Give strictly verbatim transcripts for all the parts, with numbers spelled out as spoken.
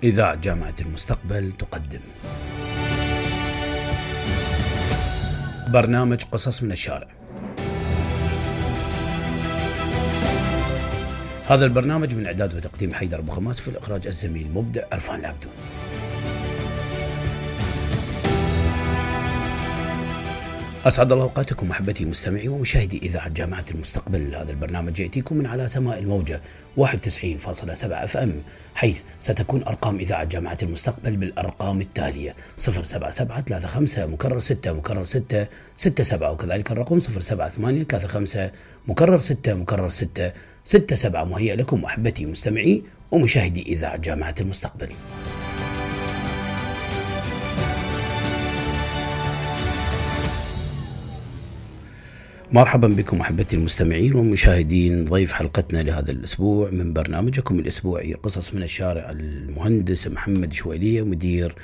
إذاعة جامعة المستقبل تقدم برنامج قصص من الشارع. هذا البرنامج من إعداد وتقديم حيدر أبو خماس، في الإخراج الزميل مبدع عرفان العبدون. أسعد الله أوقاتكم محبتي مستمعي ومشاهدي إذاعة جامعة المستقبل. هذا البرنامج يأتيكم من على سماء الموجة واحد وتسعين فاصلة سبعة اف ام، حيث ستكون أرقام إذاعة جامعة المستقبل بالأرقام التالية: صفر سبعة سبعة ثلاثة خمسة مكرر ستة مكرر ستة ستة سبعة، وكذلك الرقم صفر سبعة ثمانية ثلاثة خمسة مكرر ستة مكرر ستة ستة سبعة. مهيئ لكم محبتي مستمعي ومشاهدي إذاعة جامعة المستقبل. مرحبا بكم أحبتي المستمعين ومشاهدين. ضيف حلقتنا لهذا الأسبوع من برنامجكم الأسبوعي قصص من الشارع، المهندس محمد شويلية، مدير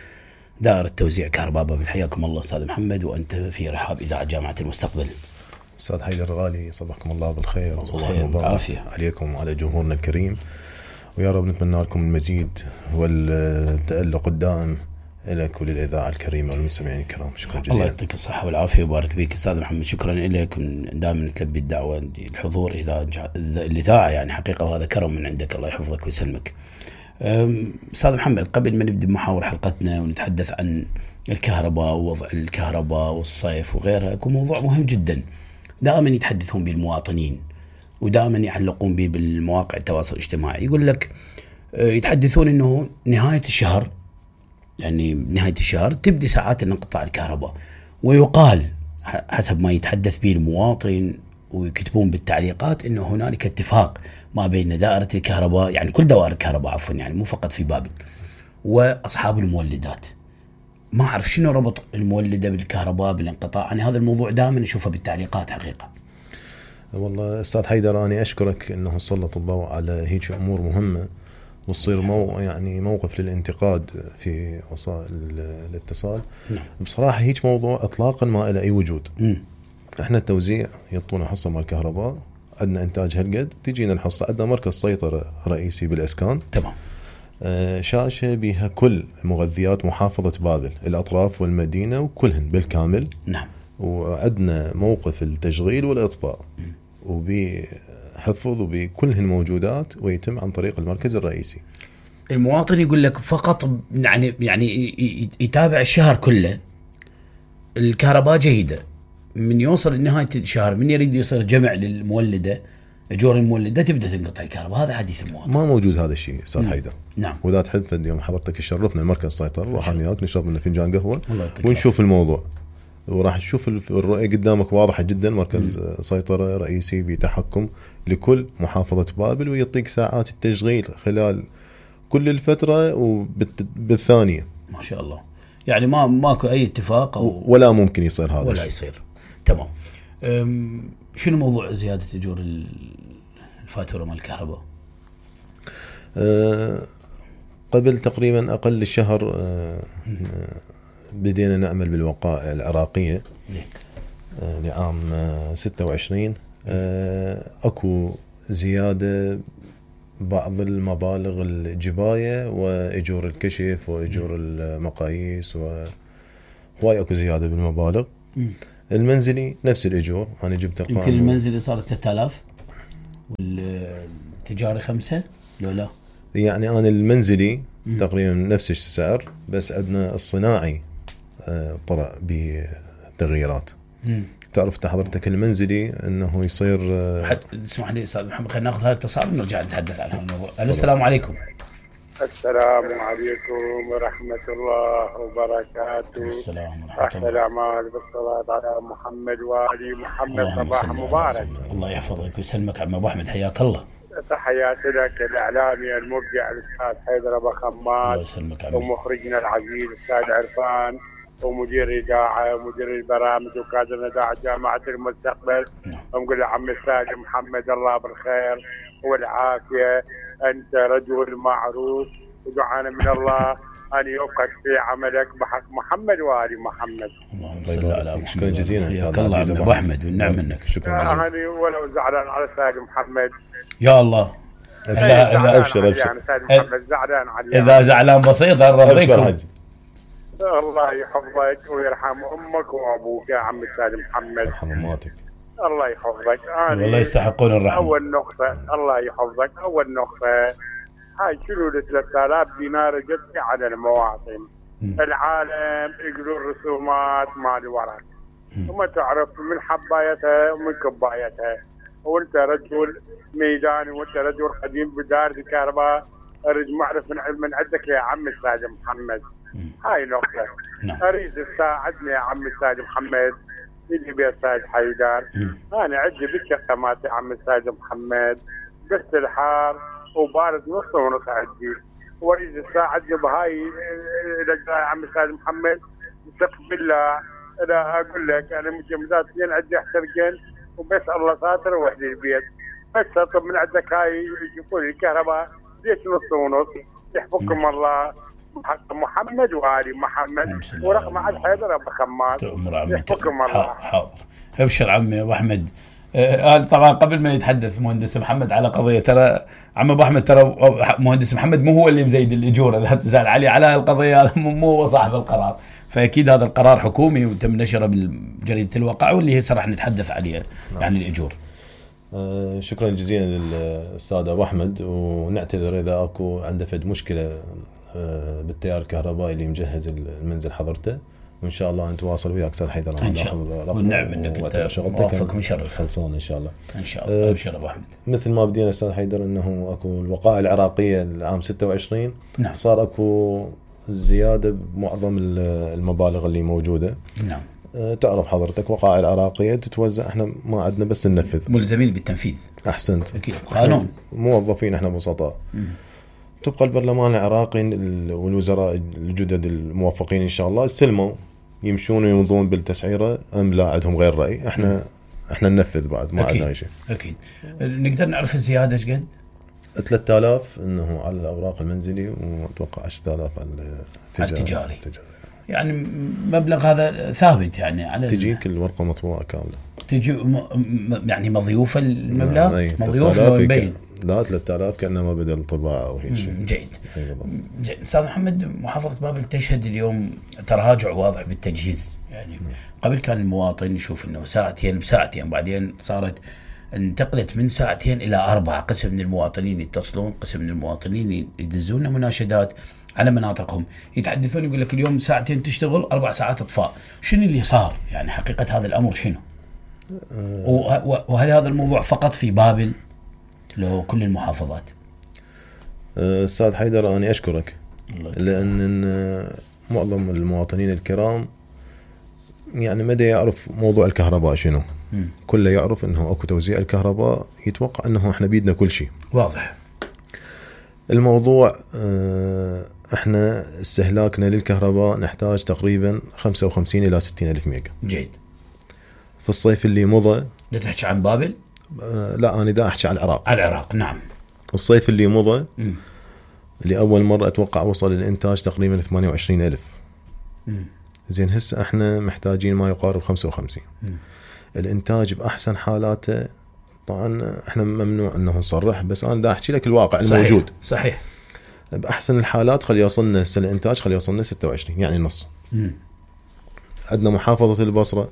دائرة توزيع كهرباء بابل. حياكم الله أستاذ محمد، وأنت في رحاب إذاعة جامعة المستقبل. أستاذ حيدر غالي، صباحكم الله بالخير وصباح العافية عليكم وعلى جمهورنا الكريم، ويا رب نتمنى لكم المزيد والتألق الدائم لك وللإذاعة الكريمة والمستمعين الكرام. شكرا جزيلا. الله يعطيك الصحة والعافية وبارك فيك أستاذ محمد. شكرا لك، دائما تلبي الدعوة للحضور إذا الإذاعة، يعني حقيقة وهذا كرم من عندك، الله يحفظك ويسلمك. أستاذ محمد، قبل ما نبدأ محاور حلقتنا ونتحدث عن الكهرباء ووضع الكهرباء والصيف وغيرها، يكون موضوع مهم جدا دائما يتحدثون به المواطنين ودائما يعلقون به بالمواقع التواصل الاجتماعي. يقول لك يتحدثون أنه نهاية الشهر، يعني نهاية الشهر تبدأ ساعات انقطاع الكهرباء، ويقال حسب ما يتحدث به المواطن ويكتبون بالتعليقات أنه هنالك اتفاق ما بين دائرة الكهرباء، يعني كل دوائر الكهرباء عفوا، يعني مو فقط في بابل، وأصحاب المولدات. ما أعرف شنو ربط المولدة بالكهرباء بالانقطاع، يعني هذا الموضوع دائما نشوفه بالتعليقات حقيقة. والله أستاذ حيدر، أنا أشكرك أنه سلط الضوء على هيك أمور مهمة وتصير مو يعني موقف للانتقاد في وسائل الاتصال. نعم. بصراحة هيك موضوع إطلاقا ما له أي وجود. م. إحنا التوزيع يعطونا حصة مال الكهرباء، عندنا إنتاج هالقد، تجينا الحصة، عندنا مركز سيطرة رئيسي بالإسكان. تمام. آه شاشة بها كل مغذيات محافظة بابل، الأطراف والمدينة وكلهن بالكامل. نعم. وعندنا موقف التشغيل والإطفاء وبي حفظ وبكلهن موجودات، ويتم عن طريق المركز الرئيسي. المواطن يقول لك فقط يعني يعني يتابع الشهر كله، الكهرباء جيدة، من يوصل لنهاية الشهر من يريد يصير جمع للمولدة، أجور المولدة، تبدأ تنقطع الكهرباء. هذا حديث المواطن. ما موجود هذا الشيء أستاذ حيدر. نعم. وإذا تحب اليوم حضرتك تشرفنا المركز سيطرة، راح وياك نشرب لنا فنجان قهوة ونشوف العافية. الموضوع، وراح تشوف الرؤية قدامك واضحة جدا. مركز م. سيطرة رئيسي بتحكم لكل محافظة بابل، ويعطيك ساعات التشغيل خلال كل الفترة وبالثانية. ما شاء الله، يعني ما ماكو أي اتفاق أو ولا ممكن يصير هذا ولا الشيء. يصير. تمام. شنو موضوع زيادة أجور الفاتورة مال الكهرباء؟ أه قبل تقريبا أقل الشهر أه بدينا نعمل بالوقائع العراقية. زين. أه لعام أه ستة وعشرين. أه أكو زيادة بعض المبالغ الجباية وإجور الكشف وإجور المقاييس، وهواي أكو زيادة بالمبالغ. م. المنزلي نفس الإجور، أنا جبت أرقام. يمكن المنزلي صارت ثلاثة آلاف والتجاري خمسة لو لا؟ يعني أنا المنزلي م. تقريبا نفس السعر، بس عندنا الصناعي آه طلع بتغييرات. م. تعرف حضرتك المنزلي أنه يصير آه اسمح لي أستاذ محمد، خلينا نأخذ هذا الاتصال ونرجع نتحدث عن هذا الموضوع. السلام عليكم. السلام عليكم ورحمة الله وبركاته. السلام ورحمة أحسن الأعمال بالصلاة على محمد وآل محمد. صباح مبارك. الله يحفظك ويسلمك عم أبو أحمد، حياك الله. تحياتي لك الإعلامي المبدع الأستاذ حيدر أبو خماس، الله يسلمك عمي، ومخرجنا العزيز الأستاذ عرفان، ومدير إذاعة ومدير البرامج وكادر إذاعة جامعة المستقبل. نعم. ونقول عم الأستاذ محمد الله بالخير والعافية، أنت رجل معروف، ودعانا من الله أن يوفقك في عملك بحق محمد وآل محمد. اللهم صل على محمد. شكرا جزيلا أستاذ العزيز أبو أحمد، والنعم منك. شكرا جزيلا. أنا ولو زعلان على الأستاذ محمد. يا الله ابشر ابشر يعني سيد محمد زعلان علي اذا زعلان بسيط ارضيكم. الله يحفظك ويرحم امك وابوك يا عم السيد محمد. يرحم اماتك. الله يحفظك. والله يستحقون الرحمه. اول نقطه الله يحفظك، اول نقطه هاي شنو ال ثلاثة آلاف دينار جت على المواطن. م. العالم يقولون الرسومات مال ورق وما تعرف من حبايتها ومن كبايتها، وانت رجل ميداني وانت رجل قديم بدار الكهرباء، اريد معرف من من عندك يا عم السيد محمد. م. هاي نقطه. نعم. اريد تساعدني يا عم السيد محمد، يجي بيا السيد حيدر. م. انا عندي بالشقمات يا عم السيد محمد بس الحار وبارد نص ونص عندي، واريد تساعدني بهاي يا عم السيد محمد. استغفر بالله انا اقول لك انا مجمداتين عندي احترقين وبس الله ساتر وحدي البيت، بس اطلب من عندك هاي يشوفوا لي الكهرباء ليش نص ونص. يحفظكم الله حق محمد وآل محمد ورقم على حيدر ابو خمار. يحفظكم الله. حاضر ابشر عمي ابو احمد. آه طبعا قبل ما يتحدث مهندس محمد على قضيه، ترى عم ابو احمد ترى مهندس محمد مو هو اللي مزيد الاجور، اذا تزعل علي على القضيه هذا مو هو صاحب القرار، فاكيد هذا القرار حكومي وتم نشره بالجريده الواقع واللي هسه راح نتحدث عليه. نعم. يعني الاجور. آه شكرا جزيلا للاستاذ ابو احمد، ونعتذر اذا اكو عنده فد مشكله آه بالتيار الكهربائي اللي مجهز المنزل حضرته، وان شاء الله نتواصل وياك استاذ حيدر. ان شاء الله والنعم انك انت موفق مشرف خلصان ان شاء الله. ان شاء الله. ابشر ابو احمد. مثل ما بدينا استاذ حيدر انه اكو الوقائع العراقيه العام ستة وعشرين. نعم. صار اكو زياده بمعظم المبالغ اللي موجوده. نعم. أه تعرف حضرتك وقائع العراقيه تتوزع، احنا ما عندنا بس ننفذ، ملزمين بالتنفيذ. احسنت. اكيد قانون. موظفين احنا بسطاء. تبقى البرلمان العراقي والوزراء الجدد الموفقين ان شاء الله استلموا يمشون ويمضون بالتسعيره ام لا عندهم غير راي، احنا م. احنا ننفذ بعد ما عندنا شيء. اكيد. نقدر نعرف الزياده ايش قد؟ ثلاثة آلاف انه على الاوراق المنزلي، واتوقع عشرة آلاف على التجاري. التجاري. يعني مبلغ هذا ثابت يعني على تجيك الورقه مطبوعه كامله. تجي م... يعني مضيوفه المبلغ. نعم. مضيوف لو مبين. لا ثلاثة آلاف كأنما بدأ الطباعة أو هيك شيء. جيد. جيد. أستاذ محمد، محافظة بابل تشهد اليوم تراجع واضح بالتجهيز، يعني م. قبل كان المواطن يشوف إنه ساعتين بساعتين، بعدين صارت انتقلت من ساعتين إلى أربعة. قسم من المواطنين يتصلون، قسم من المواطنين يدزون مناشدات على مناطقهم، يتحدثون يقول لك اليوم ساعتين تشتغل أربع ساعات إطفاء. شنو اللي صار؟ يعني حقيقة هذا الأمر شنو؟ أه وهل هذا الموضوع فقط في بابل لو كل المحافظات؟ أستاذ حيدر أنا أشكرك، لأن معظم المواطنين الكرام يعني مدى يعرف موضوع الكهرباء شنو. م. كله يعرف أنه أكو توزيع الكهرباء، يتوقع أنه إحنا بيدنا كل شيء واضح. الموضوع إحنا استهلاكنا للكهرباء نحتاج تقريبا خمسة وخمسين إلى ستين ألف ميجا. جيد. في الصيف اللي مضى. لا تحكي عن بابل؟ لا أنا دا أحكي عن العراق. على العراق. نعم. الصيف اللي مضى لأول مرة أتوقع وصل الإنتاج تقريبا ثمانية وعشرين ألف. مم. زين هسه إحنا محتاجين ما يقارب خمسة وخمسين. مم. الإنتاج بأحسن حالاته، طبعا إحنا ممنوع أنه نصرح، بس أنا دا أحكي لك الواقع صحيح. الموجود. صحيح. بأحسن الحالات خلي يوصلنا هسه الإنتاج خلي يوصلنا ستة وعشرين، يعني نص. مم. عندنا محافظة البصرة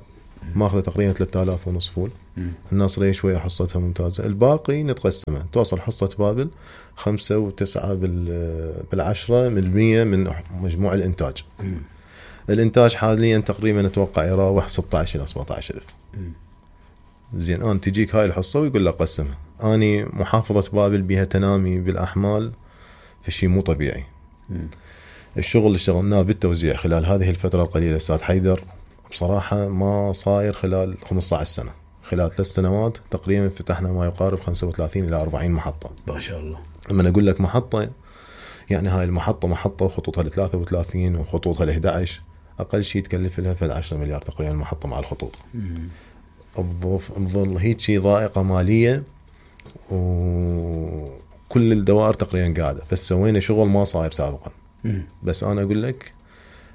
ماخذة تقريبا ثلاثة آلاف ونص فول. مم. الناصرية شوية حصتها ممتازة، الباقي نتقسمه، توصل حصة بابل خمسة وتسعة بالعشرة من المية من مجموع الإنتاج. مم. الإنتاج حاليا تقريبا نتوقع يراوح ستة عشر إلى سبعة عشر ألف. زين أنا تجيك هاي الحصة ويقول لك قسمها. أني محافظة بابل بها تنامي بالأحمال في شيء مو طبيعي. مم. الشغل اللي اشتغلناه بالتوزيع خلال هذه الفترة القليلة أستاذ حيدر بصراحة ما صاير خلال خمسة عشر سنة. خلال ثلاث سنوات تقريبا فتحنا ما يقارب خمسة وثلاثين إلى أربعين محطة. ما شاء الله. لما أقول لك محطة يعني هاي المحطة محطة وخطوطها لثلاثة وثلاثين وخطوطها لإحدى عشر، أقل شيء تكلف لها في عشرة مليار تقريبا المحطة مع الخطوط. بظل هيك شيء ضائقة مالية، وكل الدوائر تقريبا قاعدة، بس سوينا شغل ما صاير سابقا. مم. بس أنا أقول لك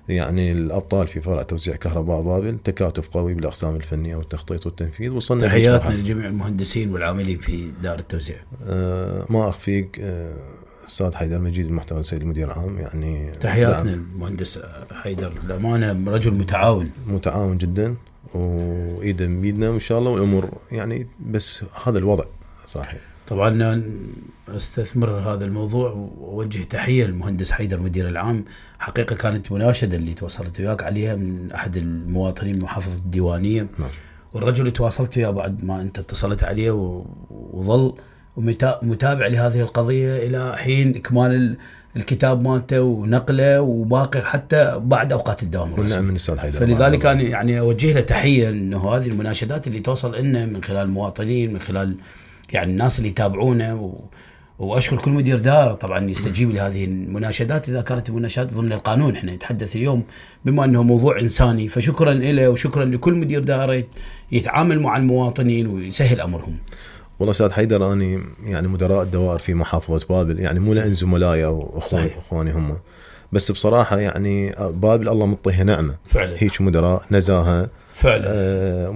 يعني الابطال في فرع توزيع كهرباء بابل، تكاتف قوي بالاقسام الفنيه والتخطيط والتنفيذ. وصلنا تحياتنا لجميع المهندسين والعاملين في دار التوزيع. آه ما اخفيك آه استاذ حيدر مجيد المحتوى السيد المدير العام، يعني تحياتنا المهندس حيدر، الامانه رجل متعاون متعاون جدا وايده بيدنا وان شاء الله والامور يعني، بس هذا الوضع صحيح. طبعا استثمر هذا الموضوع ووجه تحيه للمهندس حيدر مدير العام. حقيقه كانت مناشده اللي تواصلت وياك عليها من احد المواطنين من محافظه الديوانيه. نعم. والرجل اللي تواصلت وياه بعد ما انت اتصلت عليه وظل متابع لهذه القضيه الى حين اكمال الكتاب مالته ونقله وباقي حتى بعد اوقات الدوام الرسمي. من استاذ حيدر. فلذلك انا يعني اوجه له تحيه انه هذه المناشدات اللي توصل لنا من خلال المواطنين، من خلال يعني الناس اللي يتابعونه و... واشكر كل مدير دار طبعا يستجيب لهذه المناشدات اذا كانت المناشدات ضمن القانون. احنا نتحدث اليوم بما انه موضوع انساني، فشكرا له وشكرا لكل مدير دار يتعامل مع المواطنين ويسهل امرهم. والله استاذ حيدر اني يعني مدراء الدوائر في محافظه بابل يعني مو لان زملائي او اخوان اخواني هم، بس بصراحه يعني بابل الله مطيها نعمه فعلا. هيك مدراء نزاهه فعلا. آه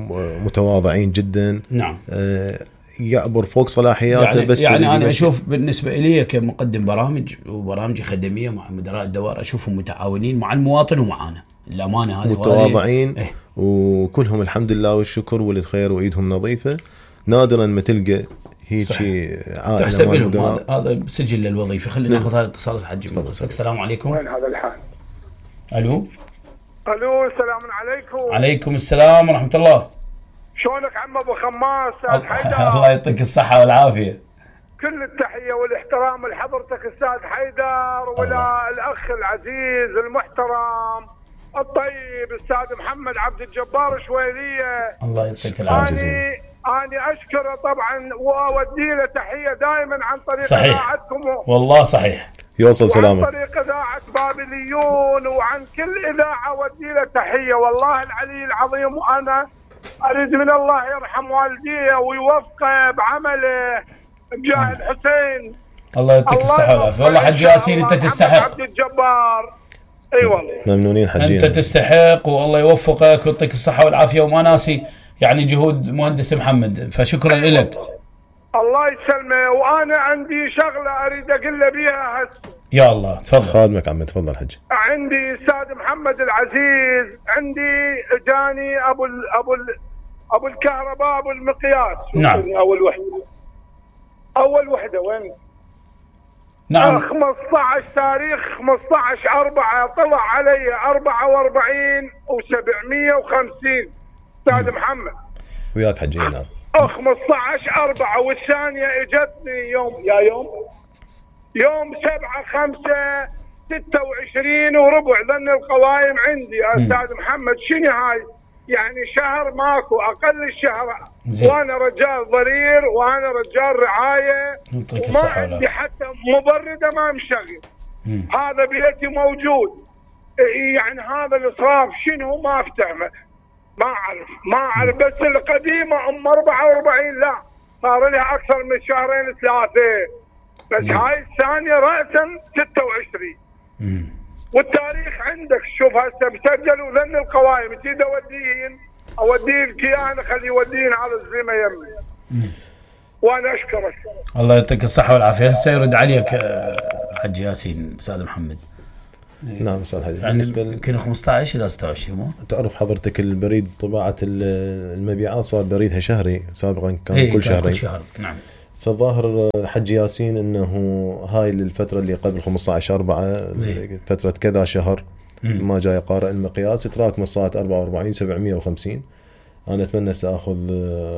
متواضعين جدا. نعم. آه يعبر فوق صلاحياته. يعني بس يعني انا اشوف بالنسبه لي كمقدم برامج وبرامج خدميه مع مدراء الدوائر اشوفهم متعاونين مع المواطن ومعانا، الامانه هذه متواضعين. إيه؟ وكلهم الحمد لله والشكر ولد خير وايدهم نظيفه. نادرا ما تلقى هيك عائله تحسب لهم. هذا هذا سجل للوظيفه. خلينا ناخذ هذا الاتصال حجي. السلام عليكم. وين هذا الحال؟ الو الو السلام عليكم. عليكم السلام ورحمه الله. شلونك عم ابو خماس؟ استاذ حيدر الله يعطيك الصحه والعافيه. كل التحيه والاحترام لحضرتك استاذ حيدر ولا الاخ العزيز المحترم الطيب استاذ محمد عبد الجبار شويليه. الله يعطيك العافيه. أنا أشكره طبعا وأودي له تحية دائما عن طريق إذاعتكم. والله صحيح. يوصل سلامك. عن طريق إذاعة بابليون وعن كل إذاعة أودي له تحية والله العلي العظيم. وأنا أريد من الله يرحم والديه ويوفقه بعمله بجاه الحسين. الله يعطيك الصحة والعافية. والله حج ياسين أنت تستحق. عبد الجبار. اي والله. ممنونين حجينا. أنت تستحق والله يوفقك ويعطيك الصحة والعافية وما ناسي يعني جهود مهندس محمد، فشكرا لك. الله يسلمه. وانا عندي شغله اريد اقول له بيها هسه. يا الله تفضل. خادمك عمي تفضل حج. عندي استاذ محمد العزيز، عندي جاني ابو ال ابو ال ابو الكهرباء ابو المقياس. نعم. اول وحده اول وحده وين؟ نعم. خمسة عشر تاريخ خمسة عشر أربعة طلع علي أربعة وأربعين وسبعمية وخمسين استاذ محمد. وياك حجينا. نعم. خمسة عشر أربعة والثانية اجتني يوم يا يوم يوم سبعة خمسة ستة وعشرين وربع ذن القوائم عندي يا استاذ محمد. شنو هاي؟ يعني شهر ماكو اقل الشهر. وانا رجال ضرير وانا رجال رعايه وما عندي حتى مبرده ما مشغل. هذا بيتي موجود. يعني هذا الاسراف شنو ما افتهمه. ما اعرف ما اعرف بس القديمه ام أربعة وأربعين لا صار لها اكثر من شهرين ثلاثه. بس هاي الثانيه راسا ستة وعشرين. والتاريخ عندك شوف هسه مسجل وذن القوائم. تريد اوديهن اوديه الكيان خليه يوديهن على الزلمه يمي. وانا اشكرك. الله يعطيك الصحه والعافيه. هسه يرد عليك حج ياسين استاذ محمد. نعم استاذ حجي. يعني يمكن خمسة عشر الى ستة وعشرين. مو تعرف حضرتك البريد طباعه المبيعات صار بريدها شهري، سابقا كان إيه كل شهرين. كل شهر. نعم. فالظاهر حج ياسين انه هاي الفتره اللي قبل خمسة عشر أربعة فتره كذا شهر مم. ما جاي قارئ المقياس تراكم الساعه أربعة وأربعين سبعمية وخمسين. انا اتمنى ساخذ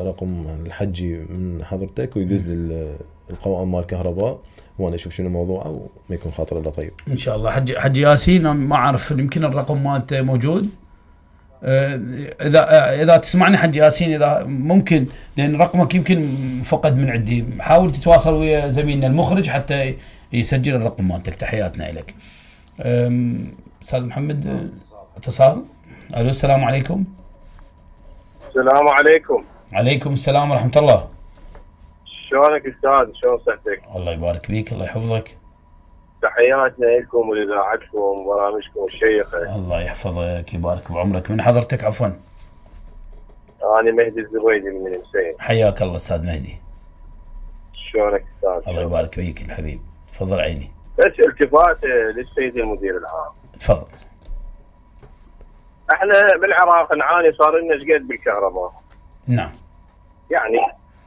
رقم الحجي من حضرتك ويدز لي القوائم مال الكهرباء وانا اشوف شنو موضوعه وما يكون خاطر الا طيب ان شاء الله. حج حج ياسين ما اعرف يمكن الرقم مالته موجود. اذا اذا تسمعني حج ياسين اذا ممكن لان رقمك يمكن فقد من عندي حاول تتواصل ويا زميلنا المخرج حتى يسجل الرقم مالتك. تحياتنا لك استاذ محمد. اتصال. الو السلام عليكم. السلام عليكم. عليكم السلام ورحمه الله. شلونك استاذ؟ شلون صحتك؟ الله يبارك فيك الله يحفظك. تحياتنا لكم ولإذاعتكم وبرامجكم الشيقة. الله يحفظك يبارك بعمرك. من حضرتك عفوا؟ أنا مهدي الزبيدي من المسين. حياك الله أستاذ مهدي. شلونك أستاذ؟ الله يبارك فيك الحبيب. تفضل عيني. بس التفات للسيد المدير العام. تفضل. احنا بالعراق نعاني صار لنا شقد بالكهرباء. نعم. يعني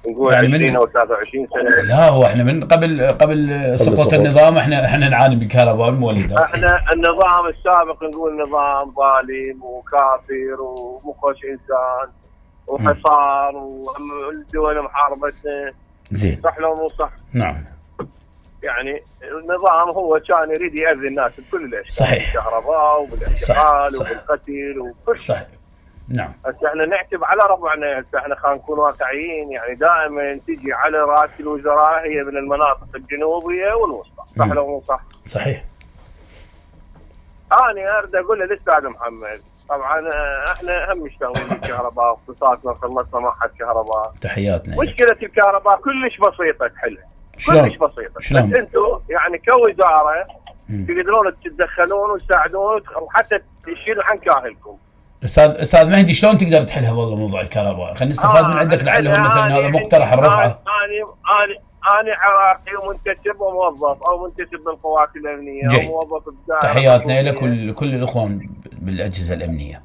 نقول يعني عشرين او ثلاثة وعشرين سنة. لا هو احنا من قبل قبل سقوط النظام احنا احنا نعاني بالكهرباء والمولدات. احنا النظام السابق نقول نظام ظالم وكافر ومخش انسان وحصار والدول محاربتنا. زين. صح لو مو صح؟ نعم. يعني النظام هو كان يريد يأذي الناس بكل الاشياء. صحيح. بالكهرباء وبالاحتقال وبالقتل وكل شيء. صحيح. نعم. هسه احنا نعتب على ربعنا. هسه احنا خلينا نكون واقعيين. يعني دائما تجي على راس الوزراء هي من المناطق الجنوبيه والوسطى. صح لو مو صح؟ صحيح. انا اريد اقول للاستاذ محمد، طبعا احنا هم مشتغلين بالكهرباء واختصاصنا خلصنا معهد كهرباء. تحياتنا. مشكله الكهرباء كلش بسيطه تحلها. كلش بسيطه. شلون؟ بس انتم يعني كوزاره تقدرون تتدخلون وتساعدون وحتى تشيلوا عن كاهلكم. استاذ استاذ مهدي شلون تقدر تحلها والله موضوع الكهرباء؟ خلينا نستفاد آه من عندك لعله مثلا هذا مقترح الرفعه. انا انا انا عراقي ومنتسب وموظف او منتسب بالقوات الامنيه جي. او موظف بالدائره. تحياتنا لك ولكل الاخوان بالاجهزه الامنيه.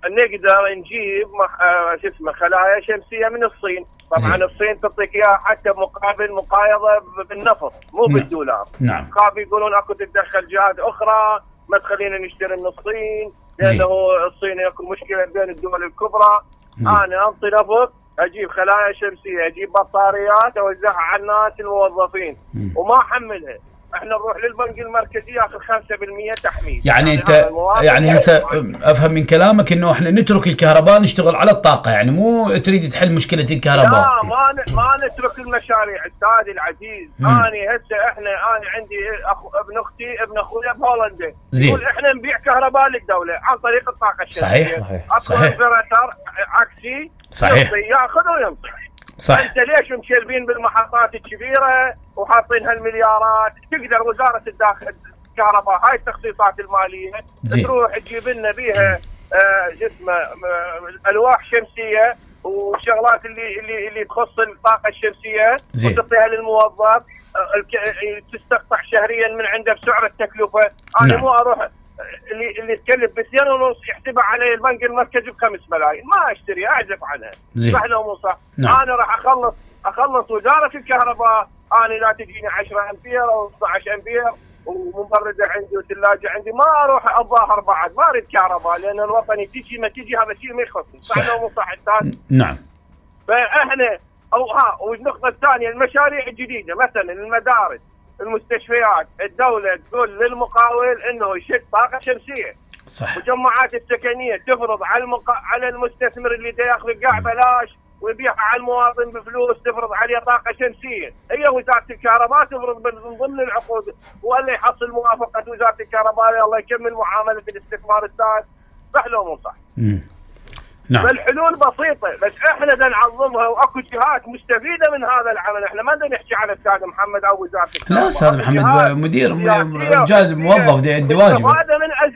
نقدر نجيب مح... شو اسمه خلايا شمسيه من الصين. طبعا زي. الصين تعطيك اياها حتى مقابل مقايضه بالنفط مو نعم. بالدولار. نعم. خاف يقولون اكو تتدخل جهات اخرى ما تخلينا نشتري من الصين لانه الصين اكو مشكله بين الدول الكبرى. زي. انا انطي نفط اجيب خلايا شمسيه اجيب بطاريات اوزعها على الناس الموظفين م. وما احملها. احنا نروح للبنك المركزي ياخذ خمسة بالمئة تحميل. يعني, يعني انت يعني هسه افهم من كلامك انه احنا نترك الكهرباء نشتغل على الطاقه، يعني مو تريد تحل مشكله الكهرباء. لا ما ن... ما نترك المشاريع استاذي العزيز. انا هسه احنا انا عندي أخو... ابن اختي ابن اخويا بهولندا يقول احنا نبيع كهرباء للدوله عن طريق الطاقه الشمسيه. صحيح صحيح صحيح. عكسي صحيح ياخذ وينطي. صح. انت ليش مشلبين بالمحطات الكبيره وحاطين هالمليارات؟ تقدر وزاره الداخل الكهرباء هاي التخصيصات الماليه زي. تروح تجيب لنا بيها آه اسمه آه الواح شمسيه والشغلات اللي اللي اللي تخص الطاقه الشمسيه وتعطيها للموظف آه تستقطع شهريا من عنده بسعر التكلفه. انا نعم. مو اروح اللي اللي تكلف بسنين ونص يحسبها علي البنك المركزي بخمس ملايين ما اشتري اعزف عنها. صح لو مو صح؟ نعم. انا راح اخلص اخلص وزاره الكهرباء. انا لا تجيني عشرة امبير او اثني عشر امبير ومبرده عندي وثلاجه عندي ما اروح اتظاهر بعد ما اريد كهرباء لان الوطني تجي ما تجي هذا شيء ما يخصني. صح لو مو صح استاذ؟ نعم. فاحنا او ها والنقطه الثانيه المشاريع الجديده مثلا المدارس المستشفيات الدولة تقول للمقاول انه يشد طاقة شمسية. صح. والجماعات السكنية تفرض على المقا... على المستثمر اللي دا ياخذ القاع بلاش ويبيعها على المواطن بفلوس تفرض عليه طاقة شمسية. هي وزارة الكهرباء تفرض من ضمن العقود ولا يحصل موافقة وزارة الكهرباء الله يكمل معاملة الاستثمار الثاني. صح لو مو صح؟ امم نعم. فالحلول بسيطة بس احنا بدنا نعظمها واكو جهات مستفيدة من هذا العمل. احنا ما بدنا نحكي على استاذ محمد او وزارة الكهرباء. لا استاذ محمد مدير رجال موظف دي عنده واجب. استفادة من أز...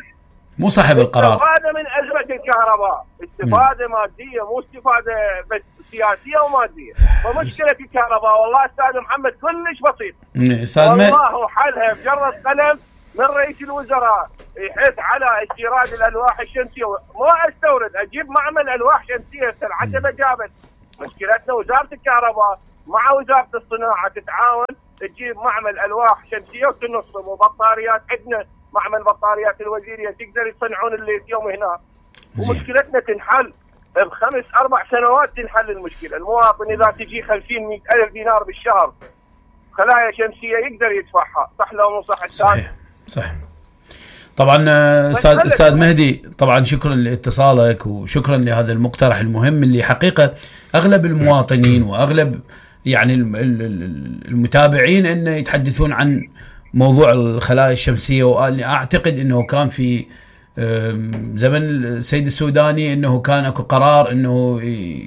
مو صاحب القرار. استفادة من أزمة الكهرباء. استفادة م. مادية مو استفادة بس سياسية ومادية. فمشكلة الكهرباء والله استاذ محمد كلش بسيط. استاذ والله حلها بجرة قلم من رئيس الوزراء يحث على استيراد الالواح الشمسيه. مو استورد اجيب معمل الواح شمسيه العتبه جابت. مشكلتنا وزاره الكهرباء مع وزاره الصناعه تتعاون تجيب معمل الواح شمسيه وتنصب وبطاريات. عندنا معمل بطاريات الوزيريه تقدر يصنعون الليثيوم هنا. ومشكلتنا تنحل بخمس اربع سنوات تنحل المشكله. المواطن اذا تجي خمسين مئة الف دينار بالشهر خلايا شمسيه يقدر يدفعها. صح لو مو صح؟ صحيح صح. طبعا استاذ استاذ مهدي طبعا شكرا لاتصالك وشكرا لهذا المقترح المهم اللي حقيقه اغلب المواطنين واغلب يعني المتابعين انه يتحدثون عن موضوع الخلايا الشمسيه. وانا اعتقد انه كان في زمن السيد السوداني انه كان اكو قرار انه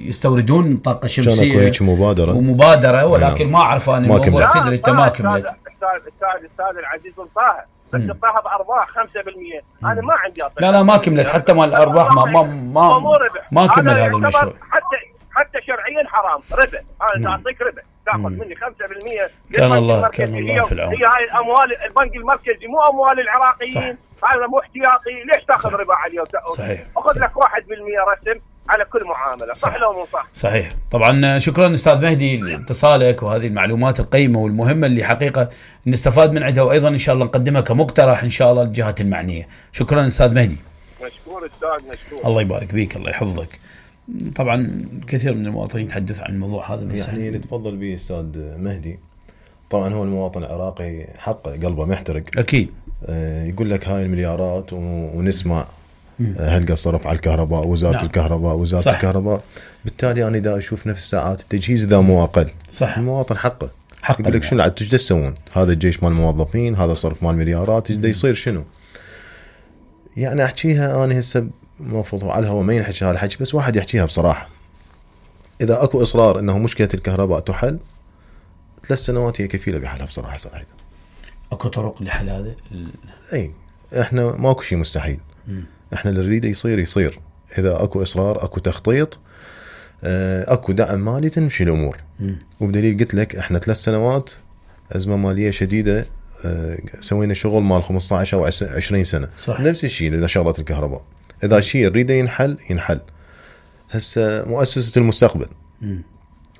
يستوردون طاقه شمسيه. كان اكو هيك مبادره ومبادره ولكن ما اعرف انا الموضوع تدري انت ما كملت. الاستاذ الاستاذ الاستاذ العزيز طه، بس طه بارباح خمسة بالمئة. انا ما عندي أطلع. لا لا ما كملت حتى مال الارباح ما ما ما, ما كمل هذا المشروع. حتى حتى شرعيا حرام ربا. انا اعطيك ربا تاخذ مني خمسة بالمئة. كان الله كان الله في العون. هي هاي الاموال البنك المركزي مو اموال العراقيين، هذا مو احتياطي، ليش تاخذ ربا عليه؟ صحيح. اخذ لك واحد بالمئة رسم على كل معامله. صح, صح لو مو صح؟ صحيح. طبعا شكرا استاذ مهدي لاتصالك وهذه المعلومات القيمه والمهمه اللي حقيقه نستفاد من عندها، وايضا ان شاء الله نقدمها كمقترح ان شاء الله للجهات المعنيه. شكرا استاذ مهدي. مشكور استاذ مشكور. الله يبارك بيك الله يحفظك. طبعا كثير من المواطنين يتحدث عن الموضوع هذا. يعني اللي تفضل به استاذ مهدي طبعا هو المواطن العراقي حقه قلبه محترق اكيد. آه يقول لك هاي المليارات ونسمع هل قصرف على الكهرباء وزاره نعم. الكهرباء وزاره صح. الكهرباء، بالتالي انا دا اشوف نفس ساعات التجهيز اذا مو اقل. صح. المواطن حقه حق يقول لك شنو عاد تجد تسوون؟ هذا الجيش مال الموظفين، هذا صرف مال مليارات، تجد يصير شنو؟ يعني احكيها انا هسه المفروض على الهواء ما ينحكي هذا الحكي، بس واحد يحكيها بصراحه. اذا اكو اصرار انه مشكله الكهرباء تحل، ثلاث سنوات هي كفيله بحلها بصراحه صراحه. اكو طرق لحل هذا؟ اي احنا ماكو شيء مستحيل. م. احنا اللي نريده يصير يصير، اذا اكو اصرار اكو تخطيط اكو دعم مالي تمشي الامور. م. وبدليل قلت لك احنا ثلاث سنوات ازمه ماليه شديده سوينا شغل مال خمسة عشر او عشرين سنه. صح. نفس الشيء اذا شغله الكهرباء، اذا شيء نريده ينحل ينحل. هسه مؤسسه المستقبل م.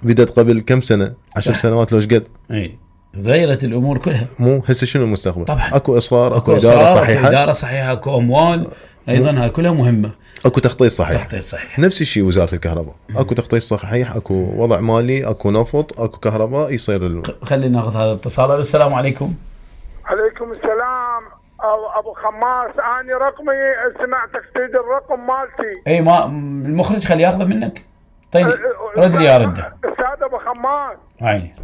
بدت قبل كم سنه؟ عشر صح. سنوات لوش قد؟ اي غيرت الامور كلها. مو هسه شنو المستقبل؟ طبعا اكو اصرار اكو, أكو اداره صحيحه، اكو اداره صحيحه، اكو اموال ايضا هاي كلها مهمه، اكو تخطيط صحيح. تخطيط صحيح. نفس الشيء وزاره الكهرباء، اكو تخطيط صحيح، اكو وضع مالي، اكو نفط، اكو كهرباء يصير ال... خلينا ناخذ هذا الاتصال. السلام عليكم. عليكم السلام ابو خماس، انا رقمي سمعتك تريد الرقم مالتي. اي ما المخرج خليه ياخذه منك. طيب رد لي يا رده استاذ ابو خماس. عيني.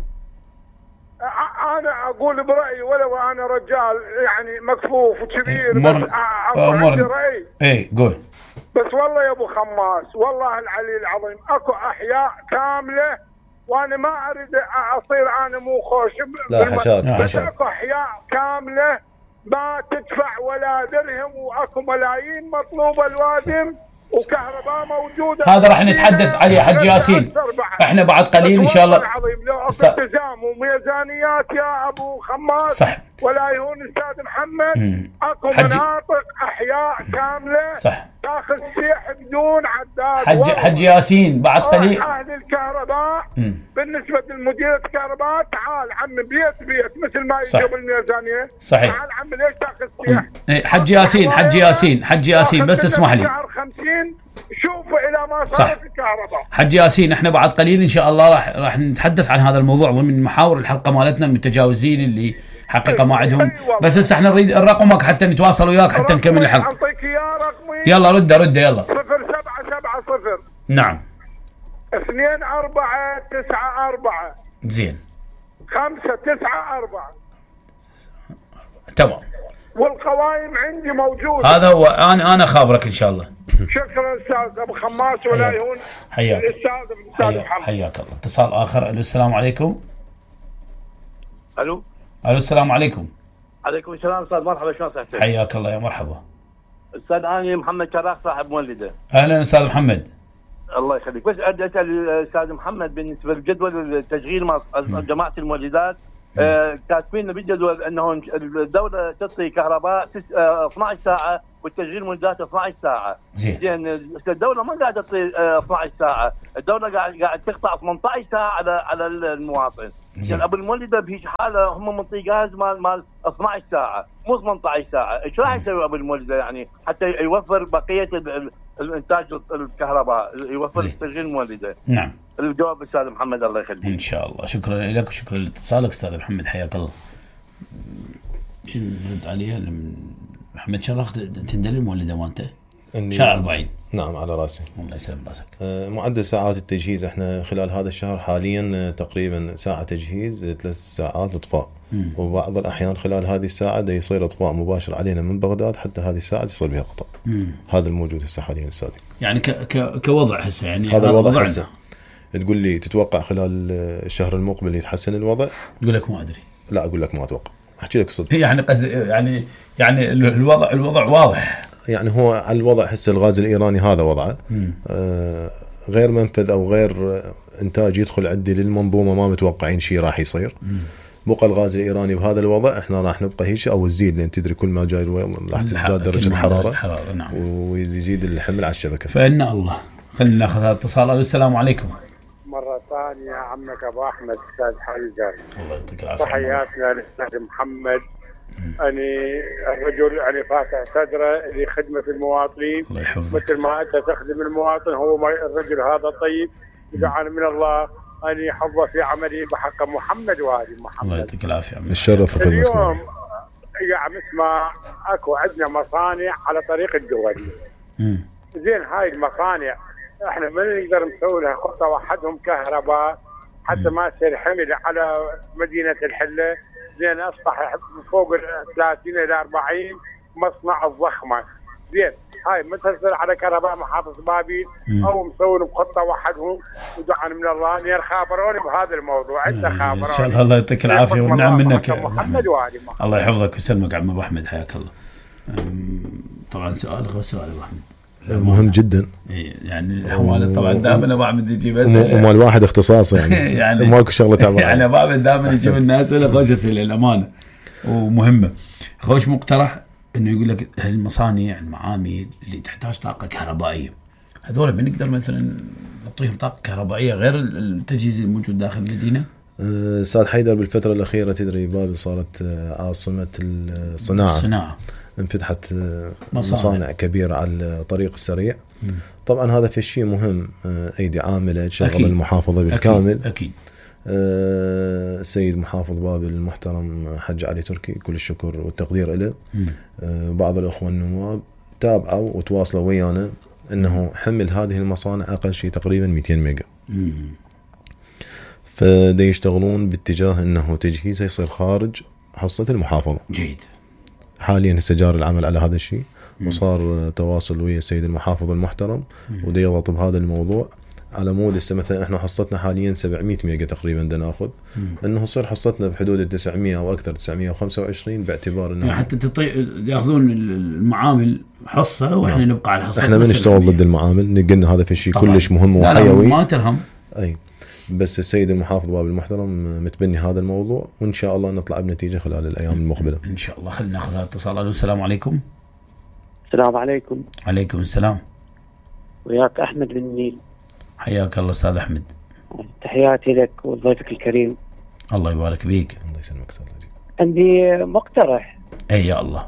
انا اقول برايي ولو انا رجال يعني مكفوف وكبير، مر... بس عندي راي. اي قول. بس والله يا ابو خماس والله العلي العظيم اكو احياء كامله، وانا ما اريد اصير انا مو خوش. لا حشاك بس اكو احياء كامله ما تدفع ولا درهم، واكو ملايين مطلوبه الوادم وكهرباء موجوده. هذا راح نتحدث عليه حج ياسين احنا بعد قليل ان شاء الله. العظيم لو اكو التزام وميزانيات يا ابو خماس صح. ولا يهون استاذ محمد مم. اكو حج... مناطق احياء كامله صح تاخذ سيح بدون عداد. حج حج ياسين بعد قليل اهل الكهرباء مم. بالنسبه لمديريه الكهرباء تعال عم بيت بيت مثل ما يجيب الميزانيه. صحيح. تعال عم ليش تاخذ سيح؟ حج ياسين حج ياسين حج ياسين بس اسمح لي خمسين شوفوا الى ما صارت الكهرباء. حج ياسين احنا بعد قليل ان شاء الله راح راح نتحدث عن هذا الموضوع ضمن محاور الحلقه مالتنا المتجاوزين اللي حقيقه ما عندهم. بس هسه احنا نريد رقمك حتى نتواصل وياك حتى نكمل الحلقه. اعطيك اياه رقمي. يلا رده رده يلا. صفر سبعة سبعة صفر نعم اثنين أربعة تسعة أربعة زين خمسة تسعة أربعة. تمام. والقوائم عندي موجودة. هذا هو انا انا خابرك ان شاء الله. شكرا استاذ ابو خماس ولا يهون. حياك الاستاذ محمد. حياك الله. اتصال اخر. الو السلام عليكم. الو الو السلام عليكم. عليكم السلام استاذ مرحبا شلون صحتك؟ حياك الله يا مرحبا. استاذ انا محمد كراخ صاحب مولده. اهلا استاذ محمد. الله يخليك. بس ادي اسال الاستاذ محمد بالنسبه لجدول التشغيل مع جماعه المولدات. آه كاتبين بالجدول انه الدوله تعطي كهرباء اثنعش ساعه والتشغيل مولدات اثنعش ساعه. زين الدوله ما قاعده تعطي اثنعش ساعه، الدوله قاعد قاعد تقطع ثمانية عشر ساعه على على المواطن. زين ابو المولده بهيج حاله هم منطي غاز مال مال اثنعش ساعه مو ثمانية عشر ساعه، ايش راح يسوي ابو المولده يعني حتى يوفر بقيه الانتاج الكهرباء يوفر تشغيل المولده؟ نعم. الجواب استاذ محمد الله يخليك. ان شاء الله. شكرا لك وشكرا لاتصالك استاذ محمد حياك الله. شنو نرد عليها محمد شرخ تندل المولده مالته شهر أربعين. نعم على راسي. الله يسلم راسك. آه معدل ساعات التجهيز احنا خلال هذا الشهر حاليا تقريبا ساعه تجهيز ثلاث ساعات اطفاء، وبعض الاحيان خلال هذه الساعه دا يصير اطفاء مباشر علينا من بغداد حتى هذه الساعه يصير بها قطع. مم. هذا الموجود هسه حاليا استاذ. يعني ك ك كوضع هسه يعني هذا الوضع هسه. تقول لي تتوقع خلال الشهر المقبل يتحسن الوضع؟ اقول لك ما ادري. لا اقول لك ما اتوقع، احكي لك صدق. يعني قصد يعني يعني الوضع الوضع واضح. يعني هو على الوضع هسه الغاز الايراني هذا وضعه آه غير منفذ او غير انتاج يدخل عندي للمنظومه، ما متوقعين شيء راح يصير. بقى الغاز الايراني بهذا الوضع احنا راح نبقى هيك او تزيد، لان تدري كل ما جاي راح تزداد درجه الحراره, الحرارة نعم. ويزيد الحمل على الشبكه. فإن الله خلينا ناخذ هذا الاتصال. السلام عليكم. مره ثانيه عمك ابو احمد استاذ حيدر. الله يعطيك العافيه. تحياتنا للاستاذ محمد. اني الرجل يعني فاتح صدره لخدمه المواطنين، مثل ما انت تخدم المواطن. هو الرجل هذا طيب، ودعانا من الله ان يحفظه في عمله بحق محمد وآل محمد. الله يعطيك العافيه. الشرف. اليوم قاعد نسمع اكو عندنا مصانع على طريق الدولي. زين هاي المصانع احنا ما نقدر نسوي لها خطه وحدهم كهرباء حتى ما تصير حمل على مدينه الحله. زين اصبح فوق ال ثلاثين الى أربعين مصنع الضخمه. زين هاي ما تصير على كهرباء محافظ بابل او مسوون بخطه وحدهم، ودعانا من الله ان يخابروني بهذا الموضوع. انت خابروني ان شاء الله. الله يعطيك العافيه والنعم منك محمد وآل محمد. الله يحفظك ويسلمك عم ابو احمد، حياك الله. طبعا سؤال غير سؤال ابو احمد مهم جدا يعني. حوالي طبعا دائما ابو احمد يجي بس وما الواحد اختصاصه يعني, يعني ماكو شغله تعبان يعني ابو احمد دائما يجيب الناس ولا خوش اسئله الامانه ومهمه. خوش مقترح انه يقول لك هالمصانع المعامل اللي تحتاج طاقه كهربائيه هذول بنقدر مثلا نعطيهم طاقه كهربائيه غير التجهيز الموجود داخل المدينه؟ استاذ حيدر بالفتره الاخيره تدري بابل صارت عاصمه الصناعه. الصناعه انفتحت مصانع. مصانع كبيره على الطريق السريع. م. طبعا هذا في شيء مهم، ايدي عامله تشغل المحافظه بالكامل. اكيد, أكيد. أه السيد محافظ بابل المحترم حج علي تركي كل الشكر والتقدير له. أه بعض الاخوه النواب تابعوا وتواصلوا ويانا انه حمل هذه المصانع اقل شيء تقريبا مئتين ميجا. فدا يشتغلون باتجاه انه تجهيزه يصير خارج حصه المحافظه. جيد. حاليا هسه جاري العمل على هذا الشيء، وصار تواصل ويا السيد المحافظ المحترم ودا يضغط بهذا الموضوع على مود هسه مثلا احنا حصتنا حاليا سبعمية ميجا تقريبا دا ناخذ، انه يصير حصتنا بحدود التسعمية او اكثر تسعمية وخمسة وعشرين باعتبار انه يعني حتى تطي... ياخذون المعامل حصه واحنا نعم. نبقى على حصه. احنا ما نشتغل ضد المعامل، نقلنا هذا في شيء كلش مهم وحيوي ما ترهم. اي بس السيد المحافظ بابل المحترم متبني هذا الموضوع، وان شاء الله نطلع بنتيجه خلال الايام المقبله ان شاء الله. خلينا ناخذ هذا الاتصال. السلام عليكم. السلام عليكم. عليكم السلام. وياك احمد بن النيل. حياك الله استاذ احمد. تحياتي لك وضيفك الكريم. الله يبارك بيك. الله يسلمك استاذ. عندي مقترح. اي يا الله.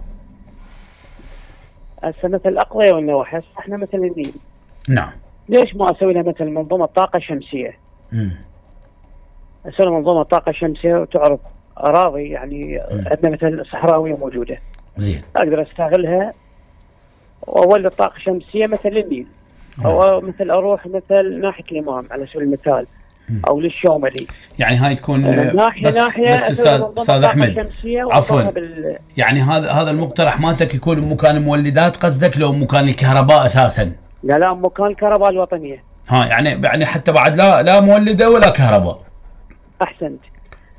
هسه مثل الاقضيه والنواحي احنا مثل النيل. نعم. ليش ما اسوي لها مثل منظومه طاقه شمسيه؟ امم اسوي منظومه طاقه شمسيه وتعرف اراضي يعني عندنا مثل صحراويه موجوده. زين. اقدر استغلها واولد طاقه شمسيه مثل النيل. او مثل اروح مثل ناحيه الامام على سبيل المثال او للشوملي. يعني هاي تكون ناحيه بس ناحيه بس استاذ استاذ احمد عفوا بال... يعني هذا هذا المقترح مالتك يكون مكان المولدات قصدك لو مكان الكهرباء اساسا؟ لا لا مكان الكهرباء الوطنيه. ها يعني يعني حتى بعد لا لا مولده ولا كهرباء. احسنت.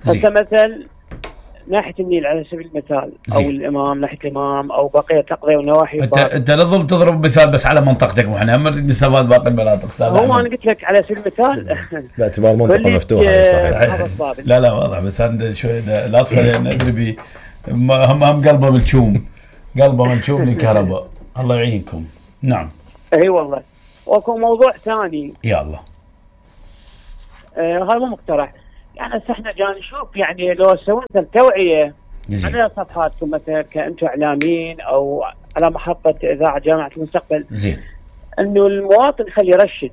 هسه مثل ناحيه النيل على سبيل المثال او زي. الامام ناحيه الامام او بقيه الاقضيه والنواحي. انت انت لا تظل تضرب مثال بس على منطقتك، واحنا هم نريد نستفاد باقي المناطق. استاذ هو انا قلت لك على سبيل المثال باعتبار منطقه مفتوحه. صحيح. لا لا واضح بس انا شوي لاطفه لان ادري بي هم هم قلبه ملشوم قلبه ملشوم للكهرباء. الله يعينكم. نعم. اي والله. واكو موضوع ثاني. يا الله. آه هذا مو مقترح. يعني احنا جاي نشوف يعني لو سوينا توعيه على صفحاتكم مثلا كأنتم اعلاميين او على محطه اذاعه جامعه المستقبل. زين. انه المواطن خلي يرشد.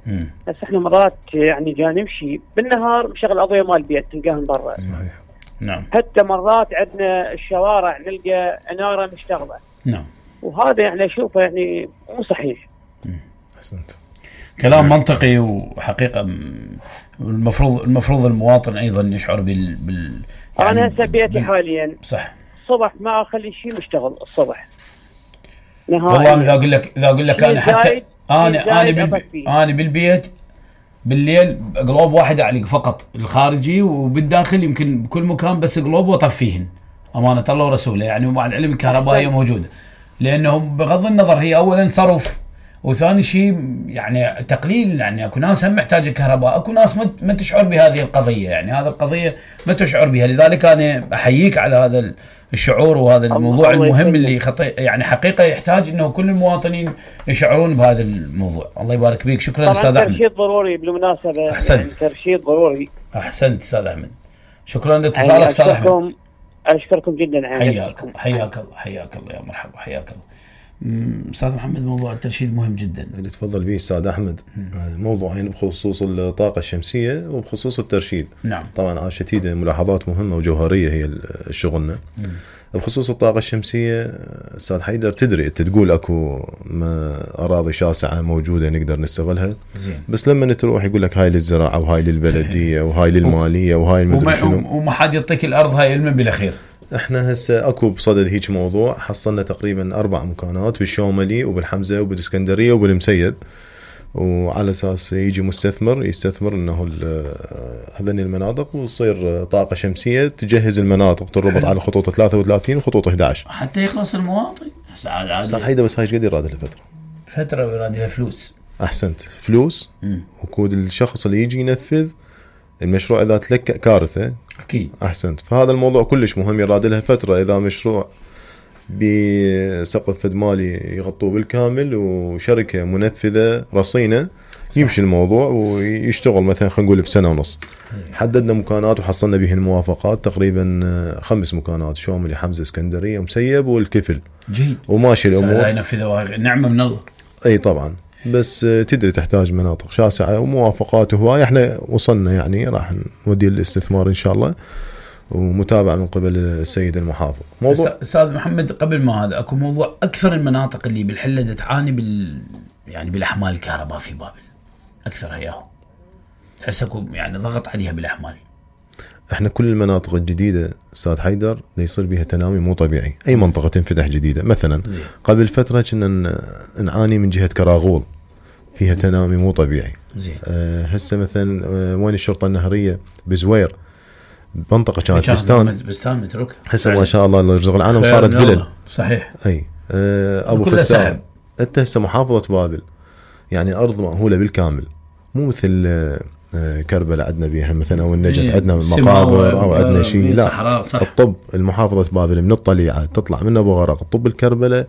امم بس احنا مرات يعني جاي نمشي بالنهار مشغل اضويه مال البيت تلقاها من برا. صحيح. نعم. حتى مرات عندنا الشوارع نلقى اناره مشتغله. نعم. وهذا يعني اشوفه يعني مو صحيح. احسنت. كلام منطقي وحقيقه المفروض المفروض المواطن ايضا يشعر بال, بال يعني انا هسه بيتي حاليا صح الصبح ما اخلي شيء مشتغل الصبح نهائيا. والله اذا اقول لك اذا اقول لك انا حتى انا انا بالبي... انا بالبيت بالليل قلوب واحد اعلق فقط الخارجي، وبالداخل يمكن بكل مكان بس قلوب وطفيهن امانه الله ورسوله يعني. ومع العلم الكهرباء هي موجوده، لانه بغض النظر هي اولا صرف، وثاني شيء يعني تقليل. يعني اكو ناس هم محتاجه كهرباء، اكو ناس ما تشعر بهذه القضيه، يعني هذه القضيه ما تشعر بها. لذلك انا احييك على هذا الشعور وهذا الموضوع المهم اللي خطي يعني حقيقه يحتاج انه كل المواطنين يشعرون بهذا الموضوع. الله يبارك فيك. شكرا استاذ احمد. ترشيد ضروري بالمناسبه. احسنت. يعني ترشيد ضروري. احسنت استاذ احمد. شكرا لاتصالك استاذ احمد. اشكركم جدا. حياك حياك الله حياك الله يا مرحبا حياك الله. استاذ محمد موضوع الترشيد مهم جدا اللي تفضل به استاذ احمد. موضوعين بخصوص الطاقه الشمسيه وبخصوص الترشيد. نعم. طبعا عاشتيده ملاحظات مهمه وجوهريه هي شغلنا. بخصوص الطاقه الشمسيه استاذ حيدر، تدري انت تقول اكو ما اراضي شاسعه موجوده نقدر نستغلها. زين. بس لما تروح يقول لك هاي للزراعه وهاي للبلديه وهاي للماليه وهاي المدري شنو، وما حد يعطيك الارض هاي علما بالاخير. احنا هسه اكو بصدد هيك موضوع، حصلنا تقريبا اربع مكانات بالشوملي وبالحمزه وبالاسكندريه وبالمسيد، وعلى اساس يجي مستثمر يستثمر انه هذين المناطق وتصير طاقه شمسيه تجهز المناطق، تربط على خطوط ثلاثة وثلاثين وخطوط إحدى عشر حتى يخلص المواطن. صح هيدا، بس هاي ايش قد يراد لها فتره فتره ويراد لها فلوس. احسنت، فلوس وكود الشخص اللي يجي ينفذ المشروع. اذا تلك كارثه اكيد. احسنت. فهذا الموضوع كلش مهم، يراد لها فتره. اذا مشروع بسقف فد مالي يغطوه بالكامل وشركه منفذه رصينه صح. يمشي الموضوع ويشتغل مثلا خلينا نقول بسنه ونص. حددنا مكانات وحصلنا به الموافقات، تقريبا خمس مكانات: شوملي، حمزه، اسكندريه، ومسيب، والكفل. جيد. وماشي الامور. لا ينفذوا، نعمه من الله. اي طبعا، بس تدري تحتاج مناطق شاسعه وموافقات وهواي. احنا وصلنا يعني راح نودي الاستثمار ان شاء الله، ومتابعه من قبل السيد المحافظ. موضوع استاذ محمد، قبل ما هذا اكو موضوع اكثر المناطق اللي بالحله تعاني بال يعني بالاحمال الكهرباء في بابل، اكثرها اياهم تحس اكو يعني ضغط عليها بالاحمال. احنا كل المناطق الجديده استاذ حيدر يصير بها تنامي مو طبيعي. اي منطقه تنفتح جديده مثلا زي. قبل فتره كنا نعاني من جهه كراغول فيها تنامي مو طبيعي. زين. أه هسه مثلا أه وين الشرطه النهريه بزوير، منطقه كانت بستان بستان متروك، هسه ما شاء الله رزق العالم صارت فلل. صحيح. اي أه ابو فستان انت هسه محافظه بابل يعني ارض مأهوله بالكامل، مو مثل أه كربلاء عندنا بيها مثلا او النجف عندنا مقابر او عندنا شيء. لا، الطب المحافظه بابل من الطليعه تطلع من ابو غرق، الطب الكربلاء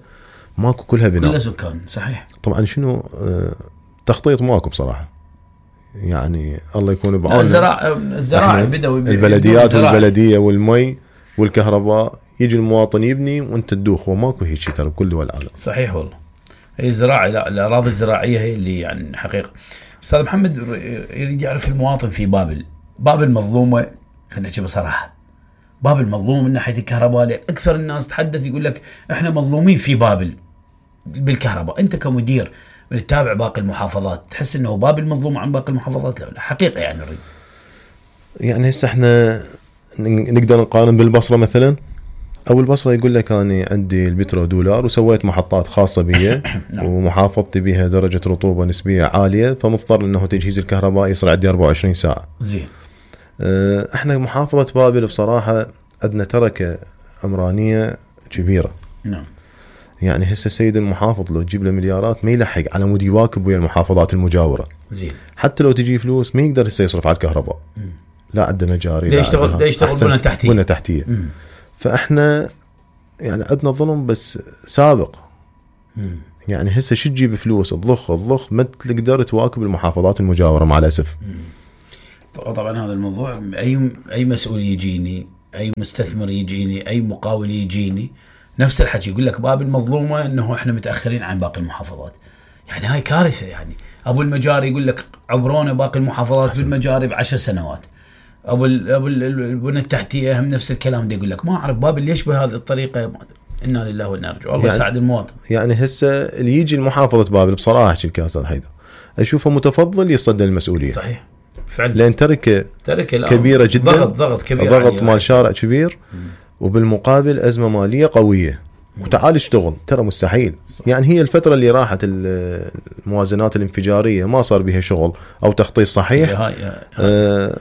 ماكو كلها بناء، كلها سكان. صحيح. طبعا شنو أه تخطيط ماكو بصراحه، يعني الله يكون بعونه. الزراعه الزراعه بدأوا البلديات والبلديه والمي والكهرباء، يجي المواطن يبني وانت تدوخ، وماكو هيك شيء ترى بكل دول العالم. صحيح والله. هي الزراعه، لا الاراضي الزراعيه هي اللي يعني حقيقه. استاذ محمد يريد يعرف المواطن في بابل، بابل مظلومه، خلينا نحكي بصراحه، بابل مظلوم من ناحيه الكهرباء. اكثر الناس تحدث يقول لك احنا مظلومين في بابل بالكهرباء. انت كمدير تتابع باقي المحافظات، تحس انه بابل مظلوم عن باقي المحافظات؟ لا لا حقيقه يعني نريد يعني هسه احنا نقدر نقارن بالبصره مثلا، او البصره يقول لك انا عندي البترو دولار وسويت محطات خاصه بي ومحافظتي بها درجه رطوبه نسبيه عاليه، فمضطر انه تجهيز الكهرباء يصير عندي أربعة وعشرين ساعه. زين. اه احنا محافظه بابل بصراحه عندنا تركه عمرانيه كبيره. نعم. يعني هسه السيد المحافظ لو تجيب له مليارات ما يلحق على مود يواكب ويا المحافظات المجاوره. زين. حتى لو تجي فلوس ما يقدر هسه يصرف على الكهرباء. مم. لا عنده مجاري، لا يشتغل لا يشتغل بنى تحتيه بنى تحتيه. مم. فاحنا يعني عندنا ظلم بس سابق. مم. يعني هسه شو تجيب فلوس تضخ تضخ ما تقدر تواكب المحافظات المجاوره مع الاسف. مم. طبعا هذا الموضوع اي اي مسؤول يجيني، اي مستثمر يجيني، اي مقاول يجيني نفس الحكي، يقول لك بابل مظلومه انه احنا متاخرين عن باقي المحافظات. يعني هاي كارثه. يعني ابو المجاري يقول لك عبرونا باقي المحافظات حسنت. بالمجاري بعشر سنوات. ابو ابو البنى التحتيه هم نفس الكلام ده، يقول لك ما اعرف بابل ليش بهذه الطريقه. انا لله وانا ارجو الله يساعد يعني المواطن. يعني هسه اللي يجي المحافظه بابل بصراحه احكي لك يا استاذ حيدر اشوفه متفضل يصدى المسؤوليه. صحيح فعلا، لان تركه تركه كبيره جدا، ضغط ضغط كبير، ضغط مال شارع كبير، وبالمقابل ازمه ماليه قويه. وتعال اشتغل، ترى مستحيل. صح. يعني هي الفترة اللي راحت الموازنات الانفجارية ما صار بها شغل أو تخطيط صحيح، هاي آه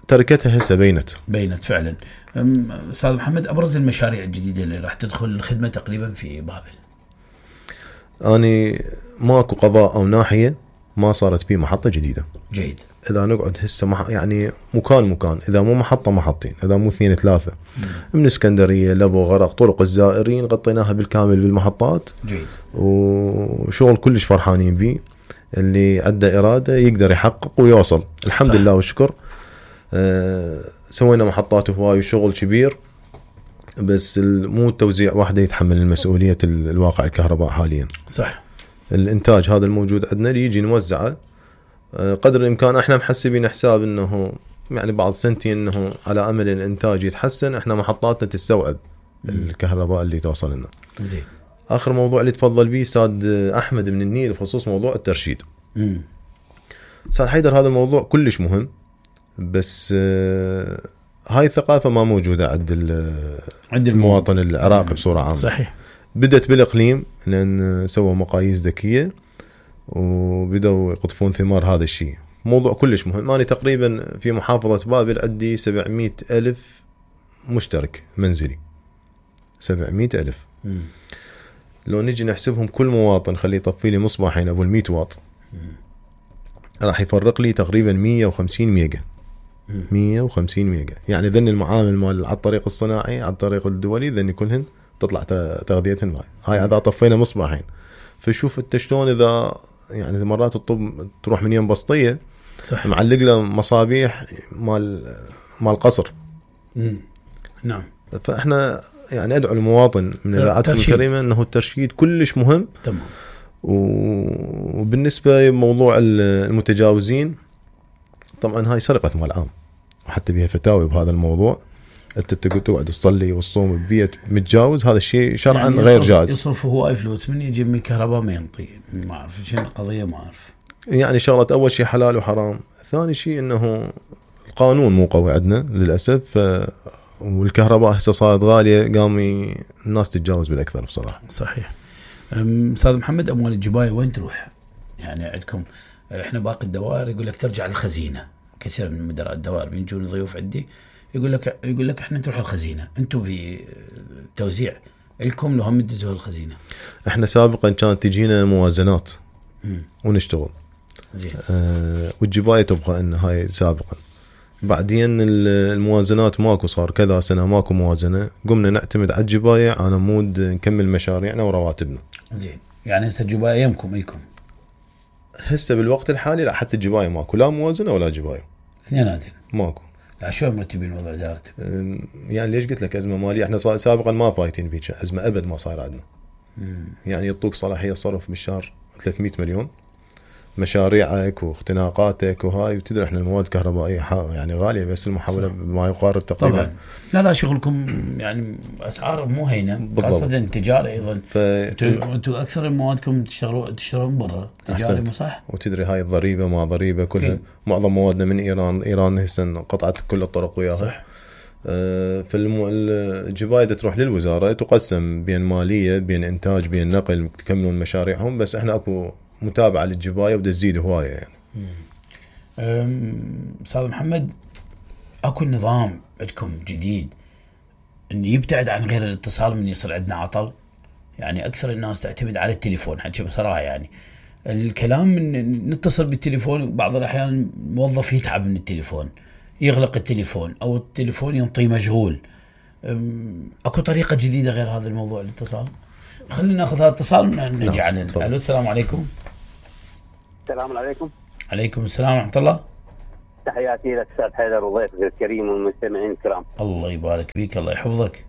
تركتها هسه بينت بينت فعلا. أستاذ محمد، أبرز المشاريع الجديدة اللي راح تدخل الخدمة تقريبا في بابل؟ أنا ماكو قضاء أو ناحية ما صارت فيه محطة جديدة. جيد. إذا نقعد هسه مح... يعني مكان مكان، إذا مو محطة محطين، إذا مو اثنين ثلاثة، مم. من اسكندرية لبو غرق طرق الزائرين غطيناها بالكامل بالمحطات. جيد. وشغل كلش فرحانين به، اللي عنده إرادة يقدر يحقق ويوصل. الحمد صح. لله والشكر. أه سوينا محطات هواي وشغل كبير، بس مو توزيع واحدة يتحمل المسؤولية الواقع الكهرباء حاليا. صح. الإنتاج هذا الموجود عندنا يجي نوزعه قدر الإمكان. احنا محسبين حساب انه يعني بعض سنتين انه على امل الانتاج يتحسن، احنا محطاتنا تستوعب الكهرباء اللي توصل لنا. زين. اخر موضوع اللي تفضل به استاذ احمد من النيل بخصوص موضوع الترشيد. امم استاذ حيدر، هذا الموضوع كلش مهم، بس هاي الثقافة ما موجودة عند عند المواطن العراقي بصورة عامة. صحيح. بدت بالاقليم لان سووا مقاييس ذكية وبدأوا يقطفون ثمار هذا الشيء. موضوع كلش مهم. أنا تقريبا في محافظة بابل عندي سبعمية ألف مشترك منزلي، سبعمية ألف. مم. لو نجي نحسبهم كل مواطن خليه يطفي لي مصباحين أبو المية واط، راح يفرق لي تقريبا مية وخمسين ميجا. مم. مية وخمسين ميجا. يعني ذن المعامل مال على الطريق الصناعي على الطريق الدولي ذن كلهن تطلع تغذيتهن ماي. هاي إذا طفينا مصباحين. فشوف انت شلون اذا يعني مرات الطب تروح من يم بسطيه صح. معلق له مصابيح مال مال قصر. امم نعم. فاحنا يعني ادعو المواطن من اذاعتكم الكريمه انه الترشيد كلش مهم. تمام. وبالنسبه لموضوع المتجاوزين، طبعا هاي سرقه مال عام وحتى بها فتاوي بهذا الموضوع. انت تقعد تصلي وتصوم ببيت متجاوز، هذا الشيء شرعا يعني غير جائز. يصرف هواي فلوس من يجي من الكهرباء ما ينطي، ما اعرف شنو القضيه، ما اعرف. يعني شغله اول شيء حلال وحرام، ثاني شيء انه القانون مو قوي عندنا للاسف. والكهرباء هسه صارت غاليه، قام الناس تتجاوز بالاكثر بصراحه. صحيح. استاذ محمد، اموال الجبايه وين تروح؟ يعني عندكم احنا باقي الدوائر يقول لك ترجع للخزينه. كثير من مدراء الدوائر من يجون ضيوف عندي يقول لك يقول لك احنا نروح الخزينه، انتم في توزيع لكم لو هم تدزوا الخزينه. احنا سابقا كانت تجينا موازنات مم. ونشتغل زين. آه والجبايه تبقى ان هاي سابقا. بعدين الموازنات ماكو، صار كذا سنه ماكو موازنه، قمنا نعتمد على الجبايه على مود نكمل مشاريعنا ورواتبنا. زين. يعني هسه الجبايه يمكم لكم هسه بالوقت الحالي؟ لا، حتى الجبايه ماكو، لا موازنه ولا جبايه، اثنيناتين ماكو. لا شو مرتبين وضع دارت؟ يعني ليش قلت لك ازمه ماليه؟ احنا سابقا ما فايتين بيك ازمه، ابد ما صاير عندنا. مم. يعني يعطوك صلاحيه صرف بالشهر ثلاثمية مليون، مشاريعك واختناقاتك وهاي، وتدري احنا المواد الكهربائيه يعني غاليه، بس المحوله ما يقارب تقريبا. طبعا. لا لا شغلكم يعني اسعار مو هينه، خاصه التجاره ايضا. ف... انتم اكثر موادكم تشتروا تشترون برا تجاري، مو صح؟ وتدري هاي الضريبه ما ضريبه كلها. كي. معظم موادنا من ايران، ايران هسه قطعت كل الطرق وياها. صح. آه فالجبايه تروح للوزاره، تقسم بين ماليه بين انتاج بين نقل، تكملون مشاريعهم، بس احنا اكو متابعه للجبايه وبده تزيد هوايه يعني. استاذ محمد، اكو نظام عندكم جديد انه يبتعد عن غير الاتصال من يصير عندنا عطل؟ يعني اكثر الناس تعتمد على التليفون، حكي بصراحه يعني الكلام من نتصل بالتليفون، بعض الاحيان الموظف يتعب من التليفون، يغلق التليفون او التليفون ينطي مشغول. اكو طريقه جديده غير هذا الموضوع الاتصال؟ خلينا ناخذ هذا الاتصال ونرجع لنا. الو، السلام عليكم. السلام عليكم. عليكم السلام ورحمه الله. تحياتي لك استاذ حيدر وضيفك الكريم والمستمعين الكرام. الله يبارك فيك، الله يحفظك.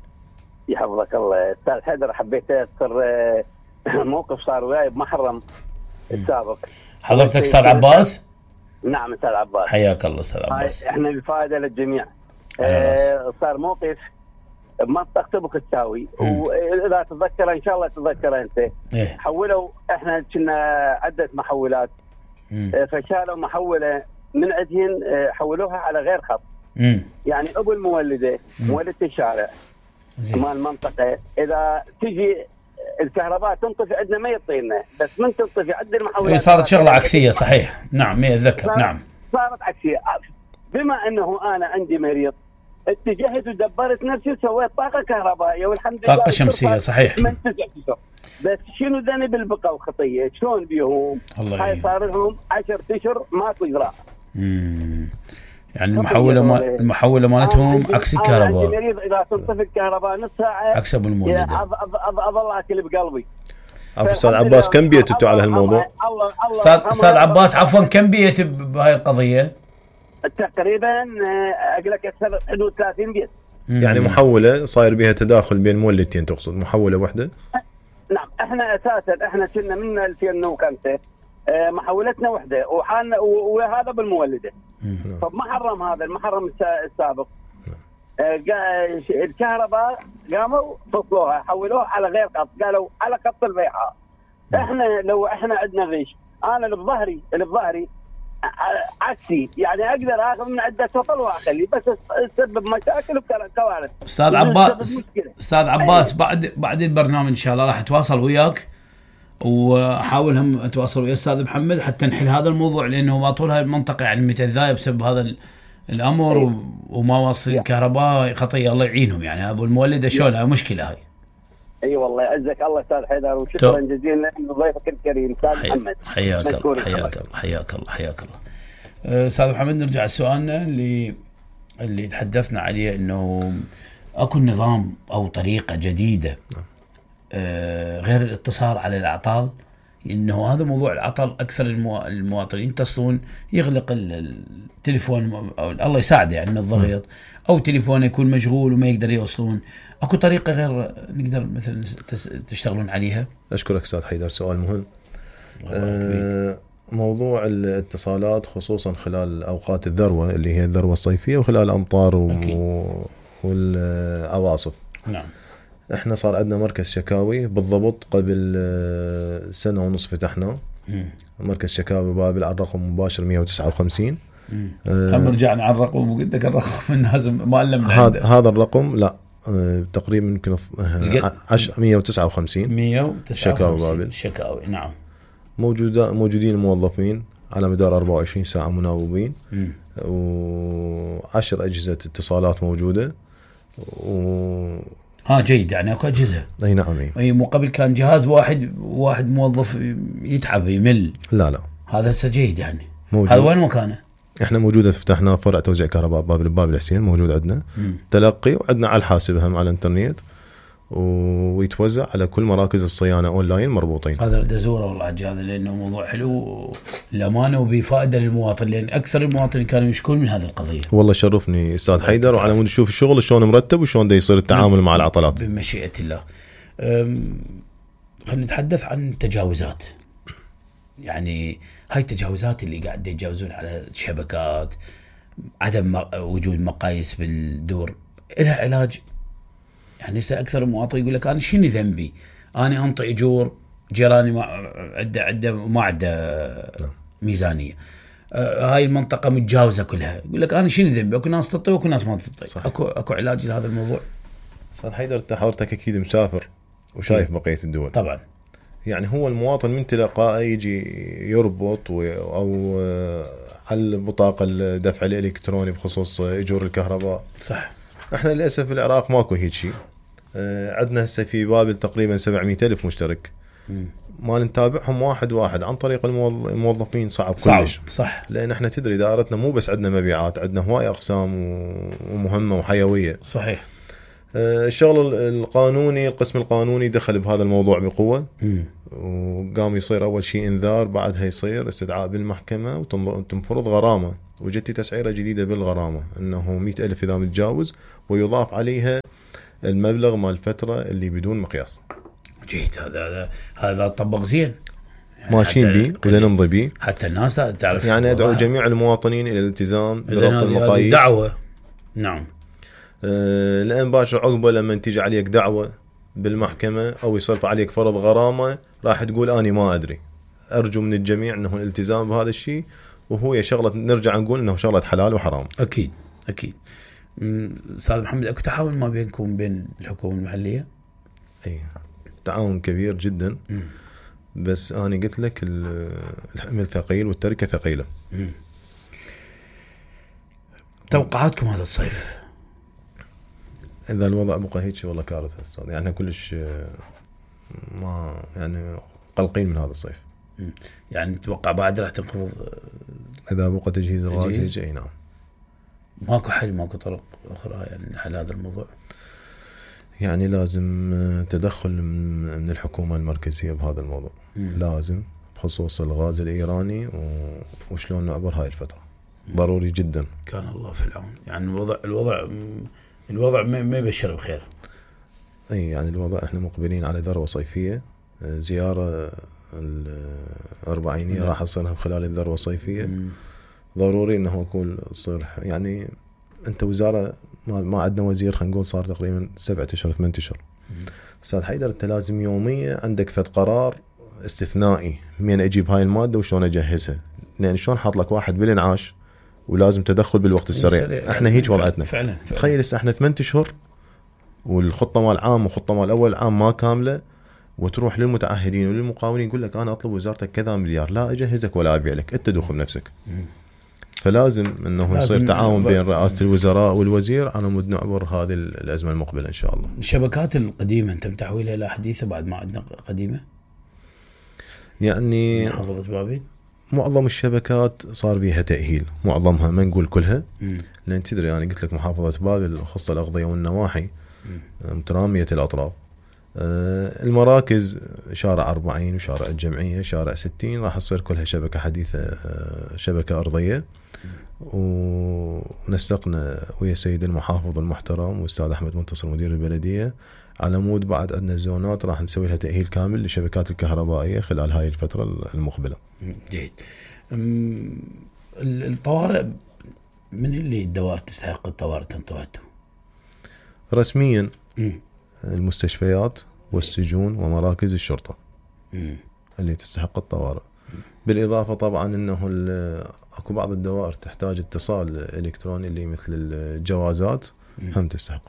يحفظك الله. استاذ حيدر، حبيت اذكر موقف صار وياي بمحرم السابق. حضرتك استاذ عباس؟ نعم استاذ عباس. حياك الله استاذ عباس. احنا الفائده للجميع. اه صار موقف بمنطقه تبك التاوي، واذا تتذكر ان شاء الله تتذكر انت. إيه؟ حولوا، احنا كنا عده محولات. مم. فشالوا محوله من عندهن، حولوها على غير خط. مم. يعني ابو المولده مولده الشارع مال المنطقه اذا تجي الكهرباء تنطفي عندنا ما يعطينا، بس من تنطفي عند المحولات صارت شغله عكسيه. صحيح نعم مية اتذكر. نعم صارت عكسيه. بما انه انا عندي مريض اتجهت ودبرت نفسي وسويت طاقه كهربائيه والحمد لله طاقه شمسيه. صحيح. من تسع بس شنو ذنب البقى وخطيه؟ شلون بيهم؟ هاي صار لهم عشرة اشهر ماكو اجراء. امم يعني المحوله ما المحوله مالتهم عكس الكهرباء. انا مريض اذا تنطفي الكهرباء نص ساعه عكس ابو المولد. اظل اكل بقلبي. عفوا استاذ عباس كم بيتوا على هالموضوع؟ استاذ استاذ عباس عفوا كم بيت بهاي القضيه؟ تقريبا اقول لك اكثر حدود ثلاثين بيت. يعني محوله صاير بها تداخل بين مولدتين تقصد محوله واحده؟ نعم احنا اساسا احنا كنا من ألفين وخمسة محولتنا وحده وحالنا وهذا بالمولده. طب ما حرم هذا المحرم السابق. الكهرباء قاموا فصلوها حولوها على غير خط، قالوا على خط البيعاء. احنا لو احنا عندنا غش انا اللي بظهري اللي بظهري عكسي يعني اقدر اخذ من عده سطل واخلي بس تسبب مشاكل وكوارث. استاذ عباس استاذ عباس بعد بعد البرنامج ان شاء الله راح اتواصل وياك واحاول هم اتواصل ويا استاذ محمد حتى نحل هذا الموضوع، لانه ما طول هاي المنطقه يعني متذايه بسبب هذا الامر. أيه. وما وصل الكهرباء خطيه الله يعينهم يعني ابو المولده شلون هاي مشكله هاي. اي أيوة والله يعزك الله استاذ حيدر وشكرا جزيلا لضيفك الكريم استاذ محمد. حياك الله حياك الله حياك الله حياك الله. استاذ محمد نرجع لسؤالنا اللي اللي تحدثنا عليه انه اكو نظام او طريقه جديده آه غير الاتصال على الاعطال، انه هذا موضوع العطل اكثر المواطنين يتصلون يغلق التليفون او الله يساعده يعني من الضغط او تليفونه يكون مشغول وما يقدر يوصلون. اكو طريقه غير نقدر مثلا تشتغلون عليها؟ اشكرك استاذ حيدر سؤال مهم. آه موضوع الاتصالات خصوصا خلال اوقات الذروه اللي هي الذروه الصيفيه وخلال الامطار والعواصف. نعم احنا صار عندنا مركز شكاوي بالضبط قبل سنه ونصف فتحناه. مركز شكاوي بابل على الرقم مباشر مية وتسعة وخمسين. هم رجعنا على الرقم وقلت لك الرقم الناس ما علمنا هذا هذا الرقم لا اه تقريبا يمكن مية وتسعة وخمسين مية وتسعة وخمسين شكاوي بابل. شكاوي نعم موجوده موجودين موظفين على مدار أربعة وعشرين ساعه مناوبين وعشر اجهزه اتصالات موجوده و ها جيد يعني اكو اجهزه. اي نعم اي, أي مو قبل كان جهاز واحد واحد موظف يتعب يمل. لا لا هذا هسه جيد يعني موجود. هذا وين مكانه؟ احنا موجوده فتحنا فرع توزيع كهرباء بابل بابل حسين موجود عندنا م. تلقي وعندنا على الحاسب هم على الانترنت ويتوزع على كل مراكز الصيانه اونلاين مربوطين. هذا بدي ازوره والله هذا لانه موضوع حلو للامانه وبفائده للمواطن، لان اكثر المواطنين كانوا يشكون من هذه القضيه. والله شرفني استاذ حيدر وعلى مود نشوف الشغل شلون مرتب وشلون دا يصير التعامل مع العطلات بمشيئه الله. خلينا نتحدث عن التجاوزات. يعني هاي التجاوزات اللي قاعد يتجاوزون على الشبكات، عدم وجود مقاييس بالدور، لها علاج؟ يعني هسه اكثر المواطن يقول لك انا شنو ذنبي؟ انا انطي اجور جيراني ما عنده عنده ما عنده ميزانيه. آه هاي المنطقه متجاوزه كلها، يقول لك انا شنو ذنبي؟ اكو ناس تطي واكو ناس ما تطي. اكو اكو علاج لهذا الموضوع؟ استاذ حيدر انت حضرتك اكيد مسافر وشايف بقيه الدول. طبعا. يعني هو المواطن من تلقائه يجي يربط او على البطاقه الدفع الالكتروني بخصوص اجور الكهرباء. صح. احنا للاسف في العراق ماكو هيك شيء. اه عندنا هسه في بابل تقريبا سبعمية ألف مشترك. م. ما نتابعهم واحد واحد عن طريق الموظفين صعب, صعب كلش. صح. لان احنا تدري دائرتنا مو بس عندنا مبيعات، عندنا هواي اقسام ومهمه وحيويه. صحيح. اه الشغل القانوني القسم القانوني دخل بهذا الموضوع بقوه. م. وقام يصير اول شيء انذار، بعدها يصير استدعاء بالمحكمه وتنفرض غرامه، وجدت تسعيره جديده بالغرامه انه مئة ألف اذا متجاوز ويضاف عليها المبلغ مال الفتره اللي بدون مقياس. جيد. هذا هذا هذا طبق زين يعني ماشيين بيه ولا نمضي بيه حتى الناس تعرف. يعني ادعو جميع المواطنين الى الالتزام بربط المقاييس. دعوه. نعم. أه لان باشر عقبه لما تيجي عليك دعوه بالمحكمه او يصرف عليك فرض غرامه راح تقول اني ما ادري. ارجو من الجميع انه الالتزام بهذا الشيء، وهو شغله نرجع نقول انه شغله حلال وحرام. اكيد اكيد. استاذ محمد اكو تعاون ما بينكم بين الحكومه المحليه؟ اي تعاون كبير جدا. م. بس انا قلت لك الحمل ثقيل والتركه ثقيله. م. توقعاتكم هذا الصيف؟ اذا الوضع بقى هيك والله كارثه استاذ، يعني كلش ما يعني قلقين من هذا الصيف. م. يعني تتوقع بعد راح تنخفض اذا بقى تجهيز الغاز هيك؟ اي نعم. ماكو حل ماكو طرق اخرى يعني لحل هذا الموضوع؟ يعني لازم تدخل من الحكومه المركزيه بهذا الموضوع. م. لازم بخصوص الغاز الايراني وشلون نعبر هاي الفتره. م. ضروري جدا. كان الله في العون. يعني الوضع الوضع الوضع ما يبشر بخير. اي يعني الوضع احنا مقبلين على ذروه صيفيه، زياره الأربعينية راح تصيرها خلال الذروه الصيفيه. م. ضروري انه يكون تصير يعني انت وزاره ما, ما عندنا وزير خلينا نقول صار تقريبا سبعة اشهر ثمانية اشهر. استاذ حيدر انت لازم يوميا عندك فد قرار استثنائي من اجيب هاي الماده وشلون اجهزها، لان شلون حاط لك واحد بالانعاش ولازم تدخل بالوقت السريع. احنا هيك وضعتنا فعلا. تخيل هسه احنا ثمانية اشهر والخطه مال عام وخطه مال اول عام ما كامله، وتروح للمتعهدين وللمقاولين يقول لك انا اطلب وزارتك كذا مليار، لا اجهزك ولا ابيع لك، انت دوخ بنفسك. فلازم انه يصير تعاون بين رئاسه الوزراء والوزير على مود نعبر هذه الازمه المقبله ان شاء الله. الشبكات القديمه انتم تحويلها الى حديثه بعد ما عندنا قديمه؟ يعني محافظه بابل معظم الشبكات صار بيها تاهيل، معظمها ما نقول كلها. م. لان تدري انا يعني قلت لك محافظه بابل خص الاغذيه والنواحي متراميه الاطراف. المراكز شارع أربعين وشارع الجمعيه شارع ستين راح تصير كلها شبكه حديثه، شبكه ارضيه. ونسقنا ويا السيد المحافظ المحترم واستاذ احمد منتصر مدير البلديه على مود بعد عندنا زونات راح نسوي لها تاهيل كامل للشبكات الكهربائيه خلال هاي الفتره المقبله. جيد. الطوارئ من اللي الدوائر تستحق الطوارئ تنطوعته؟ رسميا م. المستشفيات والسجون ومراكز الشرطه م. اللي تستحق الطوارئ. بالإضافة طبعا أنه أكو بعض الدوائر تحتاج اتصال إلكتروني اللي مثل الجوازات هم تستحق.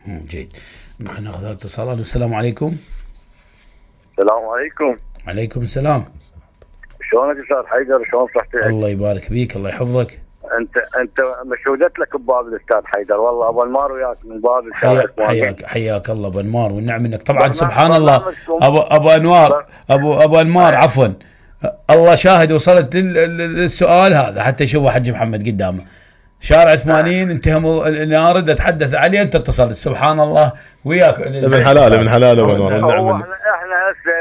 جيد. خلينا ناخذ اتصالات. السلام عليكم. السلام عليكم. عليكم السلام. شلونك أستاذ حيدر؟ شلون صحتك؟ الله يبارك بيك الله يحفظك. أنت أنت مشهودت لك ببابل أستاذ حيدر، والله أبو أنمار وياك من بابل. حياك حياك حياك الله أبو أنمار والنعم منك طبعا سبحان الله. أبو أبو أنوار أبو أبو أنمار عفوا الله شاهد وصلت للسؤال هذا حتى يشوفه حج محمد قدامه. شارع ثمانين انتهى النار اتحدث عليه انت اتصلت سبحان الله وياك ابن حلال ابن حلال والله. احنا هسه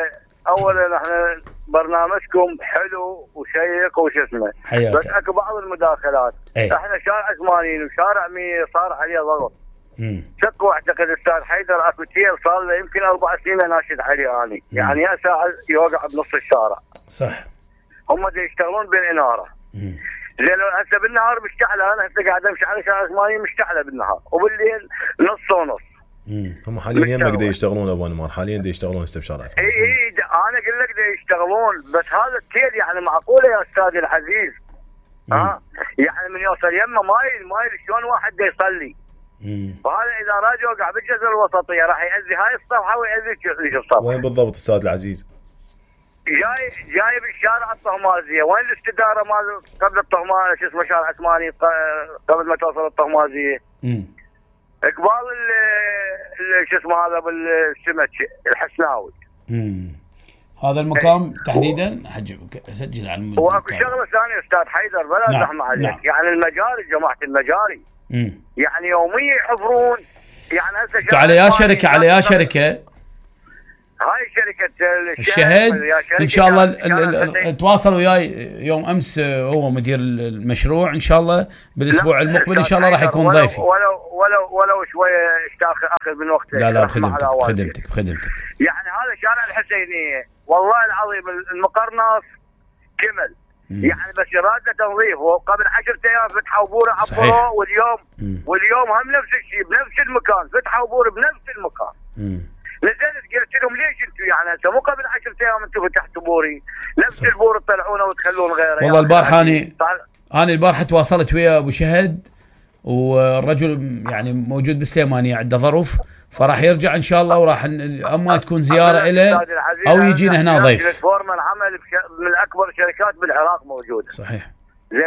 اولا احنا برنامجكم حلو وشيق وش اسمه، بس اكو بعض المداخلات. ايه؟ احنا شارع ثمانين وشارع مية صار عليه ضغط. شكو اعتقد استاذ حيدر اكو تيل صار له يمكن اربع سنين ناشد عليه اني، يعني يا ساعه يوقع بنص الشارع. صح. هم دي يشتغلون بالاناره. زين هسه بالنهار مشتعله، انا هسه قاعد امشي على شارع ثمانين مشتعله بالنهار وبالليل نص ونص. هم حاليا يمك دي يشتغلون ابو انمار، حاليا دي يشتغلون هسه بشارع ثمانين. اي اي انا اقول لك دي يشتغلون، بس هذا التيل يعني معقوله يا استاذ العزيز؟ ها يعني من يوصل يمه مايل مايل شلون واحد دي يصلي؟ وهذا اذا راجع وقع بالجزر الوسطيه راح يأذي هاي الصفحه ويأذي الصفحه. وين بالضبط استاذ العزيز؟ جاي جاي بالشارع الطهمازيه، وين الاستداره مال قبل الطهمازيه شو اسمه شارع ثمانين قبل ما توصل الطهمازيه. امم اقبال شو اسمه هذا بالسمك الحسناوي. امم هذا المكان تحديدا حج اسجل على المدة. واكو شغله ثانيه استاذ حيدر بلا زحمه عليك. نعم. يعني المجاري جماعه المجاري امم يعني يوميا يحفرون، يعني هسه على يا شركه على يا شركه هاي شركة الشهد ان شاء الله تواصل وياي يوم امس هو مدير المشروع ان شاء الله بالاسبوع المقبل ان شاء الله راح يكون ضيفي. ولو ولو ولو شويه اشتاخ اخذ من وقتك. لا لا بخدمتك بخدمتك بخدمتك. يعني هذا شارع الحسينيه والله العظيم المقرنص كمل. مم. يعني بس يراد تنظيف، وقبل عشرة ايام فتحوا بوره عبروه واليوم مم. واليوم هم نفس الشيء بنفس المكان فتحوا بوره بنفس المكان. مم. نزلت قلت لهم ليش انتم يعني هسه مو قبل عشرة ايام انتم فتحتوا بوري نفس البور تطلعونه وتخلون غيره. والله يعني البارحه اني انا البارحه تواصلت ويا ابو شهد والرجل يعني موجود بسليمانيه عنده ظروف، فراح يرجع ان شاء الله، وراح اما تكون زياره له او يجينا هنا ضيف. فورما العمل من اكبر الشركات بالعراق موجوده. صحيح. زين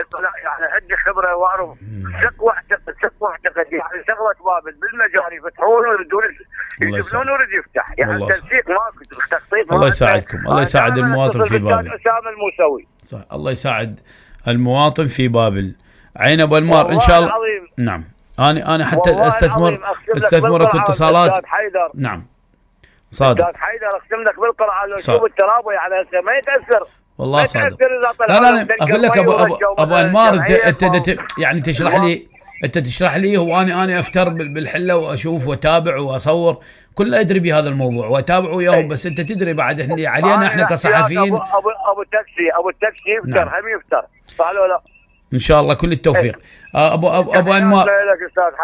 يعني عندي خبره واعرف ثق واعتقد ثق واعتقد يعني شغله بابل بالمجال يفتحون ويردون يجيبون ويرد يفتح، يعني التنسيق ماكو تخطيط. الله يساعدكم، الله يساعد المواطن في بابل. اسامه الموسوي. صح، الله يساعد المواطن في بابل. عين ابو انمار ان شاء الله. العظيم. نعم. انا انا حتى استثمر استثمرك اتصالات. نعم. صادق. استاذ حيدر اقسم لك بالقرعه لو شوف الترابه يعني ما يتاثر. والله صادق. لا لا اقول لك ابو ابو, أبو انمار انت انت يعني تشرح لي انت تشرح لي واني انا افتر بالحله واشوف واتابع واصور كله ادري بهذا الموضوع واتابع وياهم، بس انت تدري بعد احنا علينا احنا كصحفيين. ابو ابو ابو تاكسي ابو التاكسي يفتر هم يفتر صح ولا لا؟ ان شاء الله كل التوفيق. ابو ابو, أبو انمار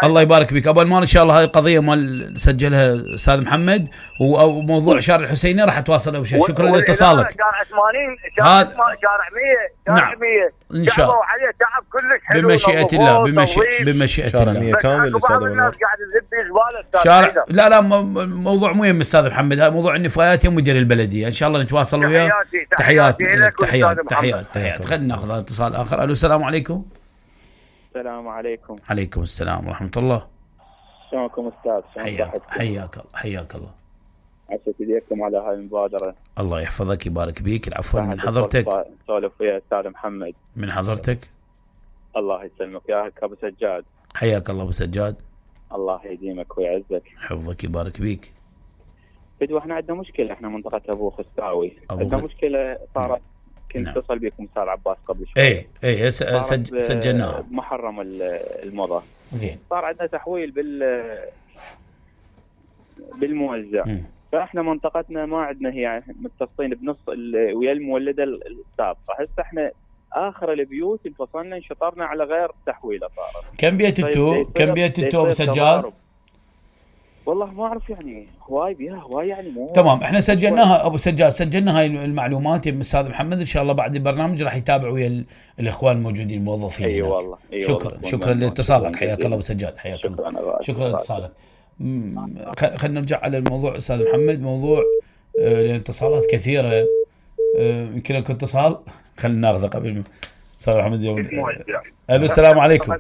الله يبارك بك ابو انمار. ان شاء الله هاي القضيه مال سجلها استاذ محمد وموضوع شارع الحسيني راح اتواصل ابو شيخ. شكرا لاتصالك. شارع ثمانين شارع شارع مية شارع مية ان شاء الله عليه تعب كلش حلو بمشيئه الله بمشيئه بمشيئه شارع مية كامل استاذ الناس قاعد تذب زباله شارع. لا لا موضوع مهم استاذ محمد، هذا موضوع النفايات يا مدير البلديه. ان شاء الله نتواصل وياه. تحياتي لك. تحيات تحيات تحيات. خلينا ناخذ اتصال اخر. الو السلام عليكم. السلام عليكم. عليكم السلام ورحمة الله. شلونكم أستاذ؟ حياك حياك الله حياك الله. عسى تديركم على هاي المبادرة. الله يحفظك يبارك بيك. العفو. من حضرتك؟ سولف ويا أستاذ محمد. من حضرتك؟ الله يسلمك يا أبو سجاد. حياك الله أبو سجاد. الله يديمك ويعزك. حفظك يبارك بيك. بدو احنا عندنا مشكلة، احنا منطقة أبو خستاوي عندنا خ... مشكلة صارت. كنت اتصل نعم. بكم استاذ عباس قبل شوي. اي اي سج... سجلناها بمحرم المضى. زين. صار عندنا تحويل بال بالموزع. م. فاحنا منطقتنا ما عندنا هي متصلين بنص ال... ويا المولده السابقه. هسه احنا اخر البيوت انفصلنا انشطرنا على غير تحويله صارت. كم بيت انتو؟ كم بيت انتو ابو سجاد؟ والله ما اعرف يعني هواي بيها هواي يعني مو تمام. احنا سجلناها ابو سجاد، سجلنا هاي المعلومات يا استاذ محمد. ان شاء الله بعد البرنامج راح يتابعوا ويا الاخوان الموجودين الموظفين. اي أيوة والله. أيوة شكرا والله. شكرا لاتصالك. حياك الله ابو سجاد. حياك الله. شكرا, شكرا لاتصالك. خلينا نرجع على الموضوع استاذ محمد. موضوع الاتصالات كثيره يمكن لكم اتصال خلينا ناخذه قبل استاذ محمد يوم. الو السلام عليكم.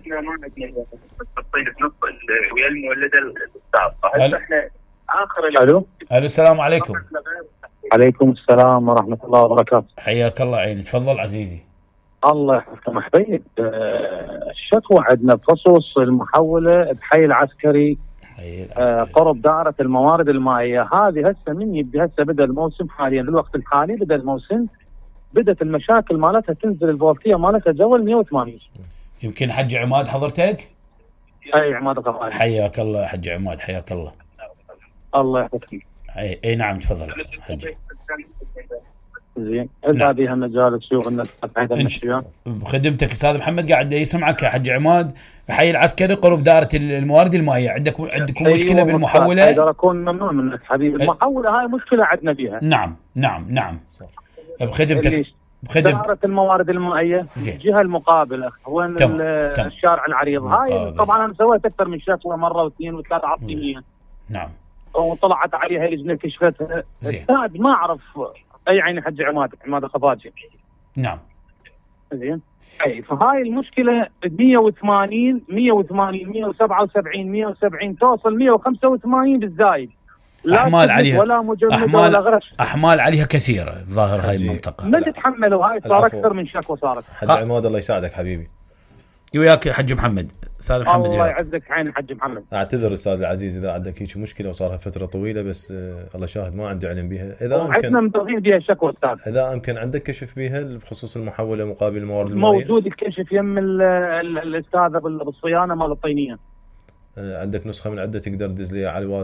ويا المولده السابقه. احنا اخر الو الو السلام عليكم. عليكم السلام ورحمه الله وبركاته. حياك الله عيني. تفضل عزيزي. الله يحفظك حبيب. الشكوى عندنا بخصوص المحوله بحي العسكري قرب دائره الموارد المائيه. هذه هسه من يبدا هسه بدا الموسم حاليا بالوقت الحالي بدا الموسم بدت المشاكل مالتها تنزل الفولتيه مالتها جوا مية وثمانين. يمكن حج عماد حضرتك؟ اي عماد غفاري. حياك الله حج عماد. حياك الله. الله يحفظك. اي اي نعم تفضل حج. زين اذا بها مجال شغلنا بخدمتك استاذ محمد قاعد يسمعك يا حج عماد. حي العسكري قرب دائره الموارد المائيه. عندك عندكم أيوة مشكله بالمحوله؟ اقدر اكون ممنون منك حبيبي. المحوله هاي مشكله عندنا بيها. نعم نعم نعم بخدمتك بخدمتك دائره الموارد المائيه الجهه المقابله وين الشارع العريض. هاي طبعا انا سويت اكثر من شكوى مره واثنين وثلاث عطينيا. نعم. وطلعت عليها لجنه كشفتها. استاذ ما اعرف اي عين حج عماد عماد خفاجي. نعم. زين. اي فهاي المشكله مية وثمانين مية وثمانين مية وسبعة وسبعين مية وسبعين توصل مية وخمسة وثمانين بالزايد. لا احمال عليها ولا مجمد أحمال ولا غرش. احمال عليها كثيره الظاهر هاي المنطقه. ما تتحملوا هاي صار اكثر من شكوى صارت. حج عماد الله يساعدك حبيبي. وياك يا حج محمد. استاذ محمد الله يعزك عين حج محمد. اعتذر استاذ العزيز اذا عندك هيك مشكله وصارها فتره طويله بس آه الله شاهد ما عندي علم بها. اذا امكن عندنا مدغين بها شكوى استاذ. اذا امكن عندك كشف بها بخصوص المحوله مقابل الموارد المائيه؟ موجود الكشف يم الاستاذه بالصيانه مال الطينيه. آه عندك نسخه من عده تقدر تدز لي على